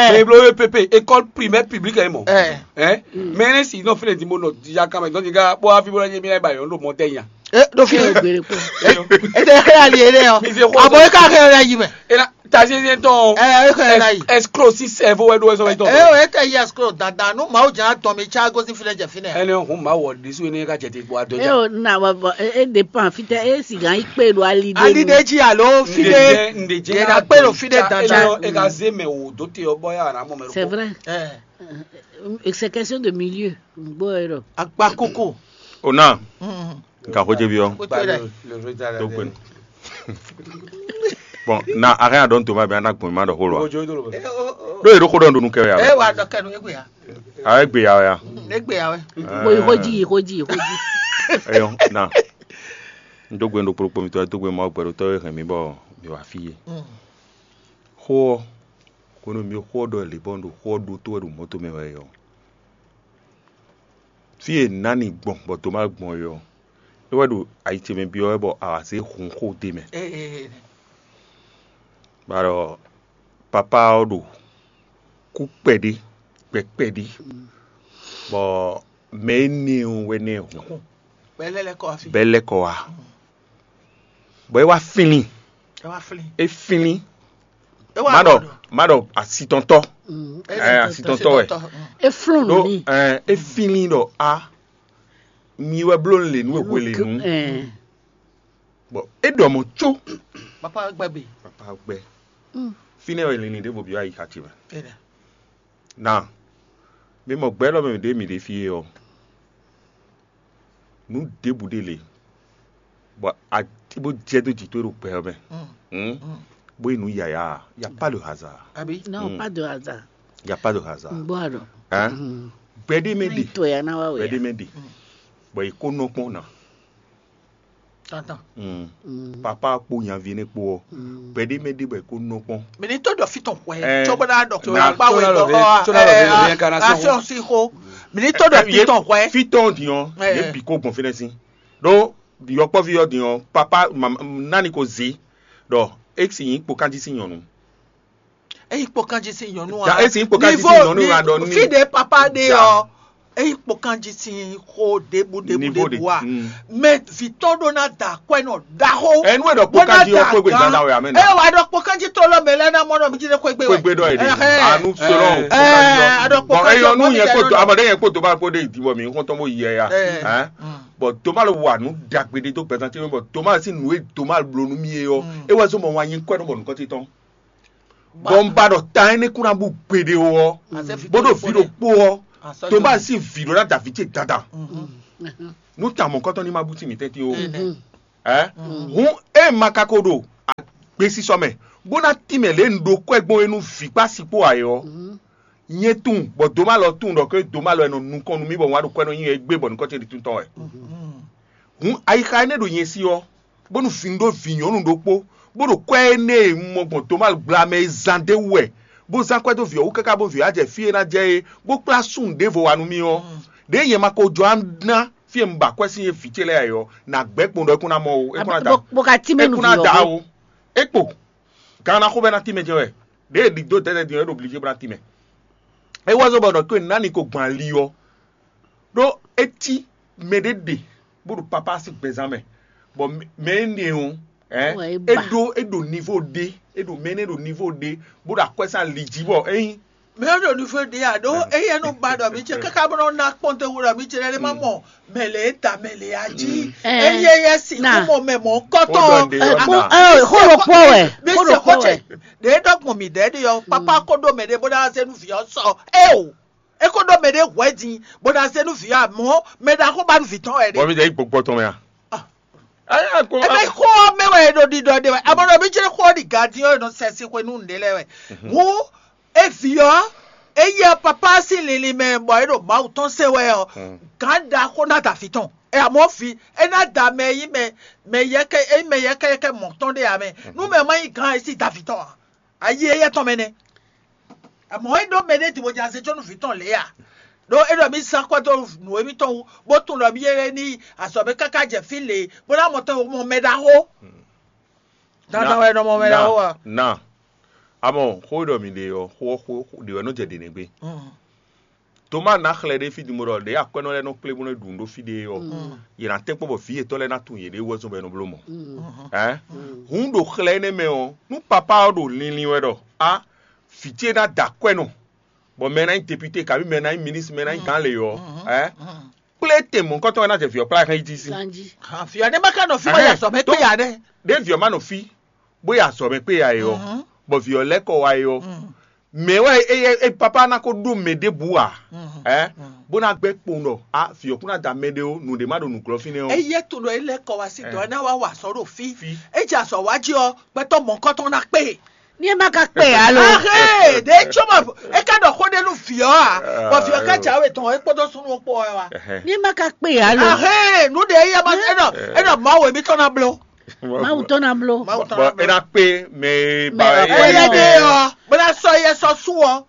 mɛ e bló E P P école primaire publique ɛ mɔ Eh. ɛ mɛ ne si nɔ fi ne di mo nɔ jija kame dɔn jija bɔ afi bɔ ne mi na ba yɔ n ɖo mɔ tɛ nya Eh, do fi. Gbèrè pọ̀. Ete xe ali ere ɔ. Mi fi xɔ Abo e ka xe ere yi mɛ. e na ta se se tɔn Eh, e xe ere yi. Escroc si cerveau wɛ do wɛ sɔ wɛ tɔn Eh, o ete yi escroc dada nu ma o jana tɔn mi tsa gosi fi ne jɛ fi ne. Ɛnɛ hun ma wɔ ɖisu ne ka jɛ te wa dɔ E ja. o na wa bɔ e e dépend fitɛ e sigan yi kpe ɖo ali ɖe Ali nu. de dzi alo fi Nde de. jɛ nde jɛ Yɛ na kpe ɖo fi ɖe dandan. E ka ze mɛ wo do te ɔ bɔ ya na mɔ mɛ. C'est vrai. Eh, C'est question de milieu. N gbɔ yɔrɔ. Akpa koko. Ona Mm. nka ko jɛ bi yɔ. Ko to dɛ. To gbenu. Bon na a hɛn a dɔn to ma bɛ ana gbɔn ma dɔ xó lɔ. Eh, o, o. Do yi do xó dɔn do nu kɛ ya. Eh, wa dɔ kɛ nu egbe ya. A ye gbe ya ya. Egbe ya wɛ. Ko yi ko ji yi ko ji yi ko ji. Eyɔ na. N do gbenu do kpokpo mi tɔ do gbenu ma gbɛ do tɔ ye hɛn mi bɔ mi wa fi ye. Mm. Xó ɔ ko nɔ mi xó ɔ ɖɔ lě bɔ n ɖo xó ɔ ɖo tó wɛ ɖo mɔto mɛ wɛ yɔ. Fi e nani gbɔn bɔ to ma gbɔn yɔ. É wɛ ɖo ayi ce mɛ byɔ́ wɛ bɔ a wǎ zé hun xó ɖ'é mɛ. Eh, eh, eh. Bɔ papá ɔ́ ɖo kú kpɛɖé gbɛ kpɛɖé bɔ mɛ énɛ́ ɔ́ wɛ nɛ́ hun Bɛlɛ lɛ kɔ afi. bɛ́ lɛ́ kɔ wá. Bɔ é wá fínlín, Ɛ wá fili. é fínlín, Ɛ wá má ɖɔ lɔ. má ɖɔ asitɔntɔ́, Mm. Ɛ ɛ asitɔntɔ́ wɛ. Mm. E flɔn Ɖó nɔ ni. ɛ é fínlín ɖɔ a mi wɛ bló lě nú e hwe lě nú. Ɛɛ. Bɔ é ɖɔ mɔ có Papa gbɛ be. papa gbɛ fínɛ́ wɛ linlin ɖěvo byɔ́ ayi xaci mɛ. Ɛ dɛ. Na mi mɔ gbɛ lɔ mɛ ɖě mi ɖe fí é ɔ́, nǔ ɖěbǔ ɖé le bɔ a bó jɛ dó jǐ tó ɖo gbɛ ɔ́ mɛ. Mm. Hmm? Bó yi nǔ yǎyá, y a pas de hasard. Abi. Non, pas de hasard. Y a pas de hasard. N gbɔ arɔ. Hein? Gbɛ ɖé mɛ ɖe, To ya na wa gbɛ ɖé wɛ. Mɛ ɖe, bɔ yi kó nɔ kpɔn na. Tantan. Hmm. Papa kpó nyaví ne kpó ɔ, gbɛ ɖé mɛ ɖe bɔ yi kó nɔ kpɔn. Mi ni tó dɔ fi tɔn hwɛ. Ɛ, Tso bɛ na dɔ. na- Akpa wɛ tso na dɔ. lɔ vɛ- tso na lɔ vɛ- réincarnation. Action si ko. Mi ni tó dɔ fi tɔn hwɛ. Fitɔn diɔn, Ɛ. ye bi kó gbɔn fínɛ́ sí. Ɖó yɔkpɔ́ví ɔ́ diɔn, papa mam- nani ko zé ɖɔ é si nyí kpo kanjí sín nyɔ̌nu. Eyi kpɔ kanji si nyɔnu Ya, é si nyí kpo kanjí sín Niveau nyɔ̌nu ni- wa ɖɔ ní. Fi de papa de Ja. ɔ. Ényí kpɔ́kánjí sín xó ɖěbǔ ɖěbǔ ɖěbǔ a, mɛ vǐ tɔn ɖó ná da akwɛ́nɔ ɖaxó. Enu e ɖɔ kpɔ́kánjí ɔ́ xwé gbe dandan wɛ amɛ nɔ. Eye wà ɖɔ kpɔ́kánjí tlóló mɛ lɛ́ɛ ná mɔ ɖɔ mí jí ɖé xwé gbe wɛ. Xwé gbe ɖɔ yě ɖe. Anu sɔlɔ. Ɛ, a ɖɔ kpɔ́kánjí ɔ́ mɔ mi yɛ kpɔ́kánjí kpɔ́kánjí ɔ́. Amɔ ɖe yɛ kpɔ́kánjí kpɔ́kánjí kpɔ́kánjí. Bɔn eyɔ́ nú yɛ kpɔ́kánjí kpɔ́kánjí. Bɔn tó má lɔ wà nú ɖagbe ɖé dó gbɛzán ce mɛ bɔ tó má sí nǔ e tó má bló nú mì é ɔ́, é wɛ zɔ́n bɔ wǎn nyí kwɛ́ nú bɔ nǔkɔn ce tɔn. Bɔ un ba ɖɔ ta énɛ́ kún ná bú gbeɖé ó ɔ́, bó ɖo vǐ ɖokpó ɔ́, tó má sí vǐ ɖó ná da vǐ ce dandan. Nú ta mɔ̌kɔtɔn ní ma bú sí mǐtɛn tín ó. Ɛ hǔn é ma ka ko ɖo agbesisɔ mɛ, bó ná tín mɛ lě un ɖó kwɛ́ gbɔn é nú vǐ kpó asi kpó ǎ é ɔ́, nyɛ tunwun bɔ dǒmalɔ tunwun ɖɔ ké dǒmalɔ e nɔ nukɔn nú mì bɔ un wá ɖo kwɛ́ nɔ nyi égbé bɔ nukɔn ce ɖi tún tɔn wɛ. Hǔn ayixa énɛ́ ɖo nyɛ sí ɔ́, bónú vǐ un ɖó vǐ nyɔ̌nu ɖokpó, bó ɖo kwɛ́ énɛ́ e un mɔ gbɔn dǒmalɔ gbla mɛ é zán d'é wú wɛ, bó zán kwɛ́ dó vǐ ɔ́ wú káká bónú vǐ ɔ́ wá jɛ fí e ná jɛ é, bó kplá súnnu ɖěvo wá nú mì ɔ́, ɖěe nyɛ ma ko jɔ ná fí e un ba kwɛ́ sín é vǐ ce lɛ́ɛ ǎ é ɔ́, nǎ gbɛ́ kpowun ɖɔ é kún ná mɔ ó, é kún ná da. Bó ka tínmɛ nú vǐ ɔ́. É kún ná da ó. É kpo. Gan ná xó bɛ́ ná tínmɛ jɛ wɛ. Ɖěe ɖi dó dɛ̌dɛ́ din ɔ́, é ɖo blǐ jí bó ná tínmɛ. É wá zɔ́n bɔ ɖɔ tó e nǎ ni ko gbɔn ali ɔ́, ɖó é cí mɛɖé ɖe bó ɖo papá sín gbɛzán mɛ, bɔ mɛ énɛ́ ɔ́, é ɖó é ɖo nivo ɖé, é ɖo mɛ énɛ́ ɖo nivo ɖé, bó ɖo akwɛ́ sín ali jí bɔ é nyí. Mɛ ɔ́ ɖo nivo ɖé a ɖó éyɛ́ nɔ ba ɖɔ mǐ ce káká bó nɔ ná kpɔ́n te wú ɖɔ mǐ ce lɛ́ɛ má mɔ mɛ lě ta mɛ lě a jí. Éyɛ́ yɛ sixú mɔ mɛ mɔ̌kɔtɔn. Xó ɖokpó wɛ. Mí se xó ce ɖě ɖɔ gbɔn mǐ ɖɛ̌ ɖe ɔ́, papá ko ɖó mɛ ɖé bó ná zé nú vǐ ɔ́ sɔ é o. É ko ɖó mɛ ɖé hwɛ̌ din bó ná zé nú vǐ ɔ́, amɔ̌ mɛ ɖaxó ba nú vǐ tɔn wɛ ɖé. Bɔ mi jɛ yi gbɔgbɔ tɔn mɛ a? Ebe xó ɔ́ mɛ wɛ è ɖo ɖiɖɔ ɖe wɛ, amɔ̌ ɖɔ mí jlé xó ɔ́ ɖi gadin ɔ́ è nɔ sɛ sin xwe nú nǔɖé lɛ́ɛ wɛ. Hǔn é vǐ ɔ́, é yɛ papá sín linlin mɛ bɔ é ɖo Mawu tɔn se wɛ ɔ́, gǎn ɖaxó ná da vǐ tɔn. É amɔ̌ vǐ, é ná da mɛ e nyí mɛ mɛ yɛkɛ e nyí mɛ yɛkɛyɛkɛ mɔ̌ tɔn ɖé ǎ mɛ. Nú mɛ ma nyí gǎn é sí da vǐ tɔn ǎ. Ayi éyɛ́ tɔn mɛ nɛ́. Amɔ̌ é ɖó mɛ ɖé din bó jɛ azé có nú vǐ tɔn lě a? Ɖó é ɖɔ mí zán kwɛ́ dó nǔ émítɔn wú, bó tunwun ɖɔ mí yé ní azɔ̌ mɛ káká jɛ fí lě, bó ná mɔ tɔn mɔ mɛ ɖaxó. Dandan wɛ è nɔ mɔ mɛ ɖaxó a? Na, amɔ xó e ɖɔ mi ɖe ɔ́, xó ɔ́ xó ɖě wɛ nɔ jɛ ɖě nɛ́ gbé. Toma ná xlɛ́ ɖé fí din bó ɖɔ ɖě akwɛ́nɔ lɛ́ɛ nɔ kplé bó nɔ́ ɖu nǔ ɖó fí ɖé ɔ́, yě ná tɛ́nkpɔ́n bɔ vǐ yětɔn lɛ́ɛ ná tunwun yěɖée wú wɛ zɔ́n bɔ è nɔ bló mɔ̌. Hǔn ɖo xlɛ́ énɛ́ mɛ ɔ́, nú papá ɔ́ ɖo linlin wɛ ɖɔ á, vǐ ce ná da akwɛ́nɔ, bɔ mɛ ná nyí depite, kabí mɛ ná nyí minísitiri, mɛ ná nyí gǎn lě ɔ́, kplé tɛn mɔ̌hunkɔtɔn wɛ ná jɛ vǐ ɔ́ kplá hɛn yi jí sí. Vǐ ɔ́ ɖé má ka nɔ fí bó yi azɔ̌ mɛ kpé ya nɛ́. Ɖé vǐ ɔ́ má nɔ fí bó yi azɔ̌ mɛ kpé ya é ɔ́, bɔ vǐ ɔ́ lɛ́ kɔ wá é ɔ́, mɛ̌ wɛ é papá ná ko ɖó mɛ ɖěbǔ ǎ, bó ná gbɛ́ kpowun ɖɔ a vǐ ɔ́ kún ná da mɛ ɖé ó, nǔɖé má ɖo nǔglɔ́ fínɛ́ ó. É yɛ tunɔ é lɛ́ kɔ wá sí dɔ̌ é ná wá wa azɔ̌ ɖo fí. É jɛ azɔ̌ wá jí ɔ́, gbɛtɔ́ mɔ̌kɔ́tɔn ná kpé. Ní ɛ má ka kpe alo. Ahé, ɖě tsɔ́ mɔ é ká ɖɔ xó ɖé nú vǐ ɔ́ ǎ, bɔ vǐ ɔ́ ká jǎwe tɔn é kpódó súnnu ɔ́ kpó wɛ wá. Ní ɛ má ka kpe alo. Ahé, nǔ ɖě é yɛ ma é nɔ é nɔ Mawu émítɔn ná bló. Mawu tɔn ná bló. Mawu tɔn Bɔ ná é bló. Ná kpé mɛ e ba Mɛ é ɔ́ Éyɛ ɖé ɔ́, bó ná sɔ́ yɛ sɔ́ sú ɔ́.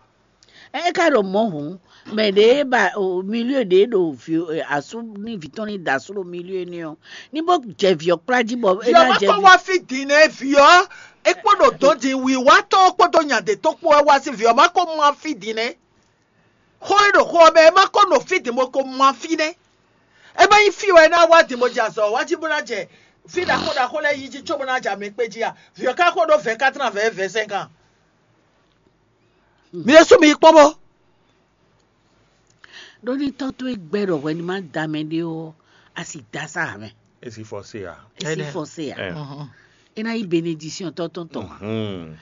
É ka ɖo mɔ̌ hǔn, mɛ ɖě ba o milieu ɖě ɖo vǐ asú ní vǐ tɔn ní da asú ɖo milieu ní ɔ́, ní bó jɛ vǐ ɔ́ kplá jí bɔ é Vǐ ɔ́ ná má jɛ kó wá fí din nɛ́ vǐ ɔ́, é kpó ɖo dɔ̌n din wǐwá tɔn kpódó nya ɖě tɔn kpó wá wá sí vǐ ɔ́ má kó má fí din nɛ́. Xó e ɖo xó ɔ́ mɛ é má kó nɔ fí din bó kó má fí nɛ́. É má nyí fí wɛ é ná wá din bó jɛ azɔ̌ wá jí bó ná jɛ fí ɖaxó ɖaxó lɛ́ɛ yí jí cóbó ná jɛ amɛ kpé jí a? Vǐ ɔ́ ka xó ɖó vɛ̌ kátran vɛ̌ vɛ̌ sɛ́n kan. Mi ɖésú mi yi kpɔ́n bó. Ɖó ní tɔ́ towe gbɛ́ ɖɔ hwɛ ní má da mɛ ɖé ɔ́, a sì da sá ǎ mɛ. Esi fɔ se a. Esi fɔ se a. Ɛ. É ná yí benedisíɔn tɔ́ tɔn tɔn a.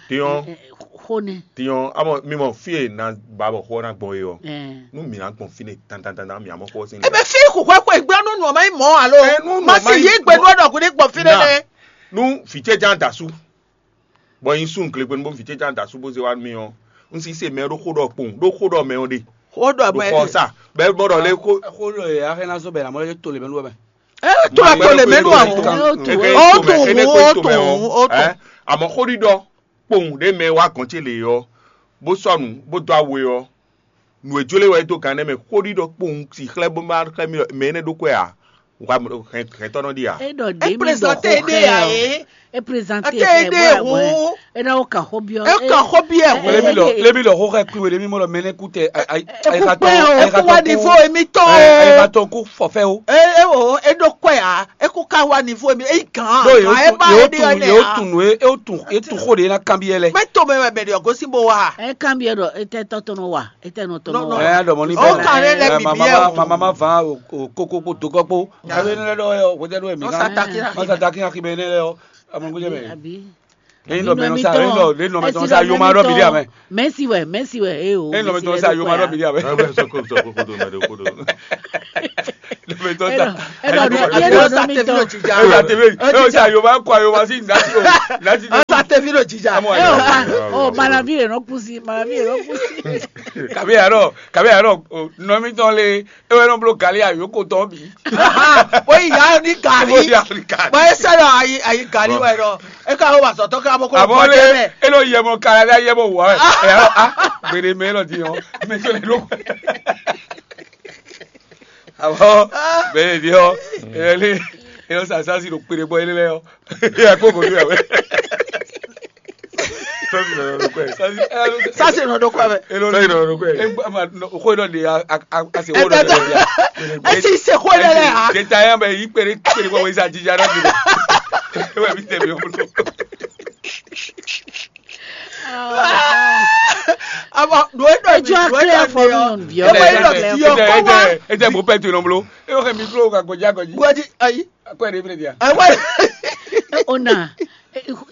Tiɲɔ. Xó nɛ. Tiɲɔ amɔ mi mɔ fí e na ba bɔ xó ná gbɔn e ɔ. Ɛ. Nú mi ná gbɔn fí ne tantantantan mi amɔ xó sí. Ebe fí kò hwɛ kó ìgbé nú nù ọmọ yín mọ alo. Ɛ nú nù má ọmọ sì yín yí gbé nú ọ̀nà kò ní gbọ̀n fí nɛ Na. Nɛ. Nú fìtsɛ jan dasu. Bɔ nyi sun glegbenu bó vǐ ce can da sú bó zé wá nú mì ɔ́, un si se mɛ ɖó xó ɖɔ kpowun ɖó xó ɖɔ mɛ ɔ́ ɖe. Xó ɖɔ ɖo mɛ xɔ sa bɛ bɔ ɖɔ lé xó. Xó lɔ yɛ axɛ ná zɔ bɛ lamɔ lɛ to le mɛ nu wɛ mɛ. Ɛ to la to le mɛ nu awɔ. Ɔ to wu ɔ to wu ɔ to. Amɔ xó ɖiɖɔ kpowun ɖe mɛ wá gɔn ce le ɔ, bó sɔnu bó dó awe ɔ, nǔ e jló e wɛ é dó gǎn nɛ́ mɛ xó ɖiɖɔ kpowun si xlɛ́ bó má xlɛ́ mì ɖɔ mɛ énɛ́ ɖó kwɛ ǎ. Hɛntɔ́ nɔ ɖi ǎ. É ɖɔ ɖě mi ɖɔ xó Exprésate ɖe xɛ ǎ ɔ́. É. E présenter. Ate ede hu. E na o ka xó biɔ. E ka xó biɔ hu. Lebi lɔ, lebi lɔ xó xɛ kpi wele mi mɔ lɔ mɛnɛ kú tɛ. E kú pɛ o, e kú wa nivo emi tɔ. E ka tɔ kú fɔfɛ o. E e o, e ɖo kɔɛ a, e kú ka wa nivo emi, e gan. Ɖo ye o tun, ye o tun, ye o tun, ye o tun, ye tun xó de na kanbi yɛ lɛ. Mɛ to mɛ mɛ mɛ de ɔgɔsi bo wa. E kanbi yɛ ɖɔ, e tɛ tɔ tɔnɔ wa, e tɛ nɔ tɔnɔ wa. Ɛ ya dɔmɔ ni bɛ. O kan ne lɛ bibi yɛ o. Mama ma va o koko kpo dogɔ kpo. Abe ne lɛ dɔ yɛ o, wɛdɛ dɔ yɛ mi kan. Masa taki na. Masa taki na ki bɛ ne lɛ o. Amɔgɔjɛ mɛ. Abi. Eyin nɔ mɛnɔ sa, eyin nɔ eyin nɔ mɛtɔn sa yoma dɔ bi di amɛ. Mɛsi wɛ, mɛsi wɛ, e o. Eyin nɔ mɛtɔn sa yoma dɔ bi di amɛ. Ɛgbɛ sɔkò sɔkò kodo mɛ de kodo. Nɔ mɛtɔn sa. Ɛnɔ ɛnɔ nɔ mɛtɔn. Ɛyin sa tebe, eyin sa yoma kɔ yoma si nasi o, nasi. Sa tevi ɖo jija. Ɛ o ma, o malavi yɛ nɔ kusi, malavi yɛ nɔ kusi. Kabi arɔ, kabi arɔ, nɔ mɛtɔn le. E wɛ nɔ bló gali ayoko tɔn bǐ. Bó yi ya ní gali. Bó ya ní gali. Bó e sɛ ɖɔ ayi ayi gali wɛ ɖɔ. E ka wo ba sɔtɔ ka bó kó. Abɔ lé e lɔ yɛ mɔ kala lé yɛ mɔ wɔ ɛ. Ɛ yà lɔ a gbede mɛ lɔ di yɔ mɛ sɔ lɛ lɔ. Abɔ bɛ di yɔ e lɛ e lɔ sa sa si ɖo kpede bɔ e lɛ yɔ. Ɛ kó ko do yà wɛ. Sasi nɔ ɖo kɔ mɛ. Sasi nɔ ɖo kɔ mɛ. Xó dɔ de a a a se xó dɔ de ya. Esi se xó dɔ de ya. Jeta ya bɛ yi kpere kpere kɔ wesa jija dɔ de. Ewa bi tɛ mi o. Abo do e dɔ mi do e dɔ mi o. E dɔ e dɔ mi o. E tɛ bo pɛ tu nɔ blo. E yɔ kɛ mi blo ka gɔdzi agɔdzi. Gɔdzi ayi. Akwɛ ɖe ble dia. Akwɛ. Ona,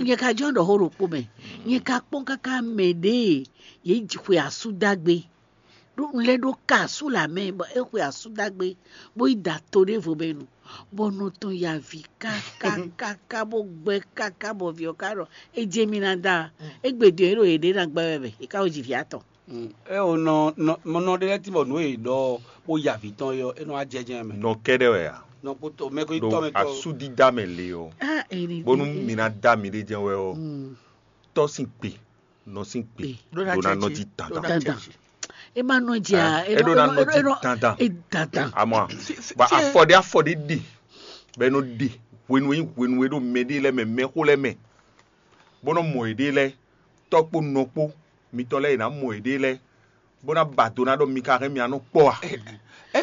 nyɛ ka jɔ ɖɔ xó ɖokpó mɛ. Nyɛ ka kpɔn kaka mɛ ɖe ye xwe asu dagbe. Ɖo un lɛ ɖo ka asu la mɛ bɔ e xwe asu dagbe bó yi da to ɖe vo mɛ nu. Bɔ nɔ tɔn ya vi kakakaka bó gbɛ kaka bɔ vi ɔ ka ɖɔ e jɛ mi na da. Egbe din e ɖo ye ɖe na gbɛ wɛ mɛ e ka wo ji vi atɔn. E o nɔ nɔ nɔ ɖe lɛ́ɛ tín bɔ nǔ e è ɖɔ bó ya vǐ tɔn é ɔ́, é nɔ wá jɛ jɛ́n mɛ. Nɔ kɛ́ɖɛ́ wɛ a? Nɔ kpótó mɛ kó nyí tɔ́ mɛ tɔn. Ɖo asúdídá mɛ le ɔ́, bónú mi ná dá miɖée jɛ́n wɛ ɔ́, tɔ́ sín gbe, nɔ sín gbe ɖó ná nɔjí dandan. Dandan. E ma nɔ jɛ a? E ɖó ná nɔjí dandan. E dandan. Amɔ a, bɔ afɔ ɖé afɔ ɖé ɖe, bɔ e nɔ ɖe hwenu e nyí hwenu e ɖo mɛɖé lɛ́ɛ mɛ, mɛxó lɛ́ɛ mɛ, bó nɔ mɔ yěɖée lɛ́ɛ, tɔ́ kpó nɔ kpó, mitɔn lɛ́ɛ yě ná mɔ yěɖée lɛ́ɛ, bó ná ba do ná ɖɔ mi ka hɛn mì anɔ kpɔ a? E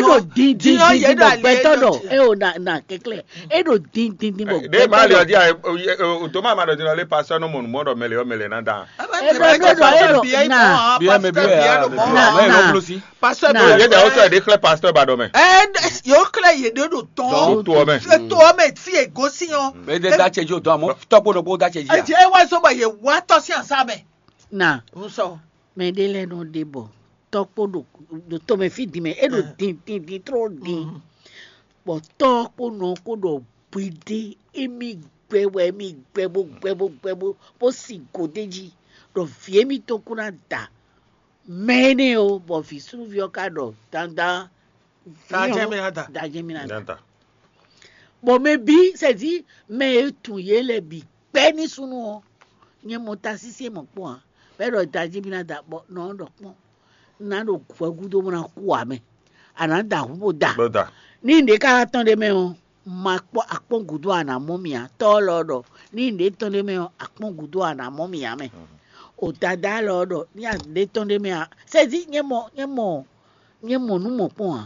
ɖo dindin din bɔ gbɛtɔ ɖɔ e o na na kɛklɛ. E ɖo dindin din bɔ gbɛtɔ ɖɔ. Ɖe ma le ɔdi a, o to ma ma ɖɔ din lɔ le pasɔ nɔ mɔ numɔ ɖɔ mɛlɛ ɔ mɛlɛ na da. E ɖɔ e ɖɔ e ɖɔ na. Biɛ mɛ biɛ ya na na. Pastor na. Yé dɛ wosɔ yɛ de xlɛ pastor ba dɔ mɛ. Ɛ yóò xlɛ yé de ɖo tɔn. Ɖo to ɔmɛ. To ɔmɛ fi egosi yɔ. Mɛ de da cɛ ji o dɔn amɔ tɔkpo ɖokpo da cɛ ji. Ɛ jɛ wa sɔ bɔ yé wa tɔ si asa mɛ. Na. N sɔ. Mɛ de lɛ nɔ de bɔ tɔkpo ɖo ɖo tɔmɛ fi di mɛ e ɖo din din din trɔ din. Bɔ tɔkpo nɔ ko ɖɔ bwede emi gbɛ wɛ emi gbɛ bo gbɛ bo gbɛ bo bo si go de ji ɖɔ vi emi tɔn ko na da. Mɛ énɛ́ ɔ́, bɔ vǐ súnnuví ɔ́ ka ɖɔ dandan. Dajɛ́ mì ná da. Dajɛ́ mì ná da. Bɔ mɛ bǐ sɛ́dí mɛ e tun yě lɛ bǐ kpɛ́ ní súnnu ɔ́, nyɛ mɔ tasísí e mɔ̌ kpɔ́n ǎ. Bɔ é ɖɔ dajɛ́ mì ná da, bɔ nɔ ɔ́ ɖɔ kpɔ́n, un ná ɖo hwɛ gúdo bó ná kú ǎ mɛ. A nǎ da hǔn bó da. Bó da. Ní nǔɖé ka wá tɔ́n ɖ'é mɛ ɔ́, ma kpɔ́ akpɔ́n gǔdo a nǎ mɔ mì ǎ. Tɔ́ ɔ́ lɔ ɖɔ ní nǔɖé tɔ́n ɖ'é mɛ ɔ́, akpɔ́n gǔdo a nǎ mɔ mì ǎ mɛ. O dadá lɔ ɖɔ ní a ɖě tɔn ɖ'é mɛ ǎ. Sɛ́dí nyɛ mɔ nyɛ mɔ nyɛ mɔ nǔ mɔ̌kpɔn ǎ.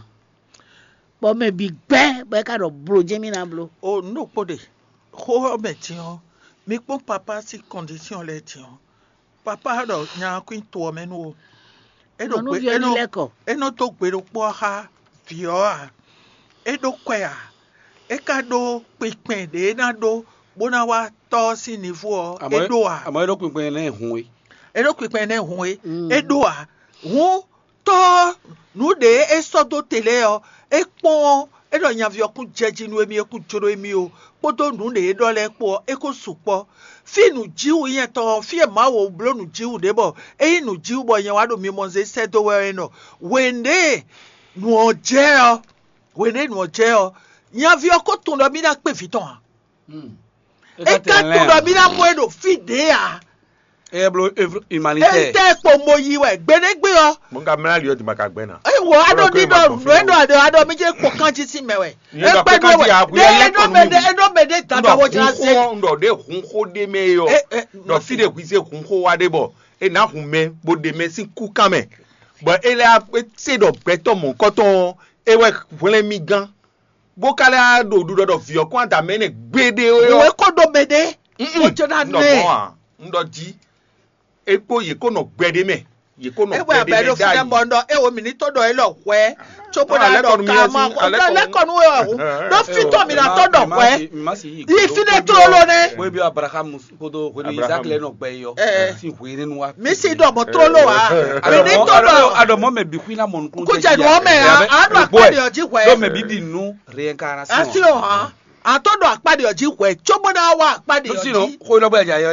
Bɔ mɛ bǐ gbɛ́ bɔ é ka ɖɔ blo jɛ́n mì ná bló. O nǔ ɖokpó ɖe, xó ɔ́ mɛ din ɔ́, mi kpɔ́n papá sín kɔndisíɔn lɛ́ɛ din ɔ́, papá ɖɔ nya ɔ́ kún to ɔ́ mɛ nú o. É ɖo gbe é nɔ é nɔ dó gbe ɖokpó ɔ́ xá vǐ ɔ́ ǎ. É ɖó kwɛ ǎ. É ka ɖó kpinkpɛn ɖě é ná ɖó bó ná wá tɔ́ ɔ́ sín nivo ɔ́, é ɖó ǎ. Àmọ́ é ɖó kpinkpɛn nɛ́ hun é. É ɖó kpinkpɛn nɛ́ hun é. É ɖó ǎ. Hǔn tɔ́ ɔ́, nǔ ɖě é sɔ́ dó te lɛ́ɛ ɔ́, é kpɔ́n ɔ́, é ɖɔ nyaví ɔ́ kún jɛ jí nú émí, é kún jló émí ó, kpódó nǔ ɖě é ɖɔ lɛ́ɛ kpó ɔ́, é kó sukpɔ́. Fí nǔjíwǔ nyɛ tɔn ɔ́, fí e Mawu bló nǔjíwǔ ɖe bɔ é nyí nǔjíwǔ bɔ nyɛ wá ɖo mimɔ zé sɛ́ dó wɛ ɔ́ é nɔ. Hwěɖée nǔ ɔ́ jɛ ɔ́, hwěɖée nǔ ɔ́ jɛ ɔ́, nyaví ɔ́ ko tunwun ɖɔ mì ná kpé vǐ tɔn ǎ. É ka tunwun ɖɔ mì ná mɔ ɛ ɖo fí ɖě ǎ. É bló humanitaire. Étɛ́ kpo mo yi wɛ gbeɖégbé ɔ́? Mo ka mlá ali ɔ́ di ma ka gbɛn na. Wɔ aɖo ɖiɖɔ nǔ e ɖɔ aɖɔ aɖɔ mi jɛ kpɔ kanji sín mɛ wɛ. Ekpɛ ɖo wɛ. Ɖe eɖo mɛ ɖe eɖo mɛ ɖe dada wɔ jla se. Un ɖɔ ɖe hun xó ɖe mɛ yɔ. Ɖɔ fi ɖe hwi se hun xó wa ɖe bɔ e na hun mɛ bo ɖe mɛ sín kú kan mɛ. Bɔ e lɛ se ɖɔ gbɛtɔ mɔ̌kɔtɔn ɔ́, e wɛ hwlɛn mi gán. Bó ka lɛ ɖo ɖuɖɔ ɖɔ vǐ ɔ́ kɔn adǎ mɛ nɛ gbéɖé ó. Wɛ kó ɖo mɛ ɖe. Mo jɛ na nɛ. Un ɖɔ jí. E kpó yě kó nɔ gbɛ ɖé mɛ. Yě kó nɔ gbɛ ɖé mɛ ɖó fínɛ́ bɔ ŋɖɔ é wo mǐ ní tó ɖɔ é lɔ hwɛ. Tso bó ná ɖɔ ká ma lɛkɔnu wɛ ɔ̀hún. Ɖó fítɔ́ mi ná tɔ́ ɖɔ hwɛ. Yi fínɛ́ tlóló nɛ. Wébi Abraham kódó hwenu Isaac lɛ nɔ gbɛ yɔ. Si hwenu wa. Mi si ɖɔ mɔ tlóló wa. Mi ní tó ɖɔ. Aɖɔmɔ mɛ bi kú iná mɔ nukun. Kó jɛ nù ɔmɛ a a ɖo akpá ɖe ɔjí hwɛ. Dɔmɛ bi di nu réincarnation. Asi o hàn. A tó ɖɔ akpá ɖe ɔjí hwɛ. Tso bó ná wá akpá ɖe ɔjí. Xó lɔ gbɛ dza yɔ.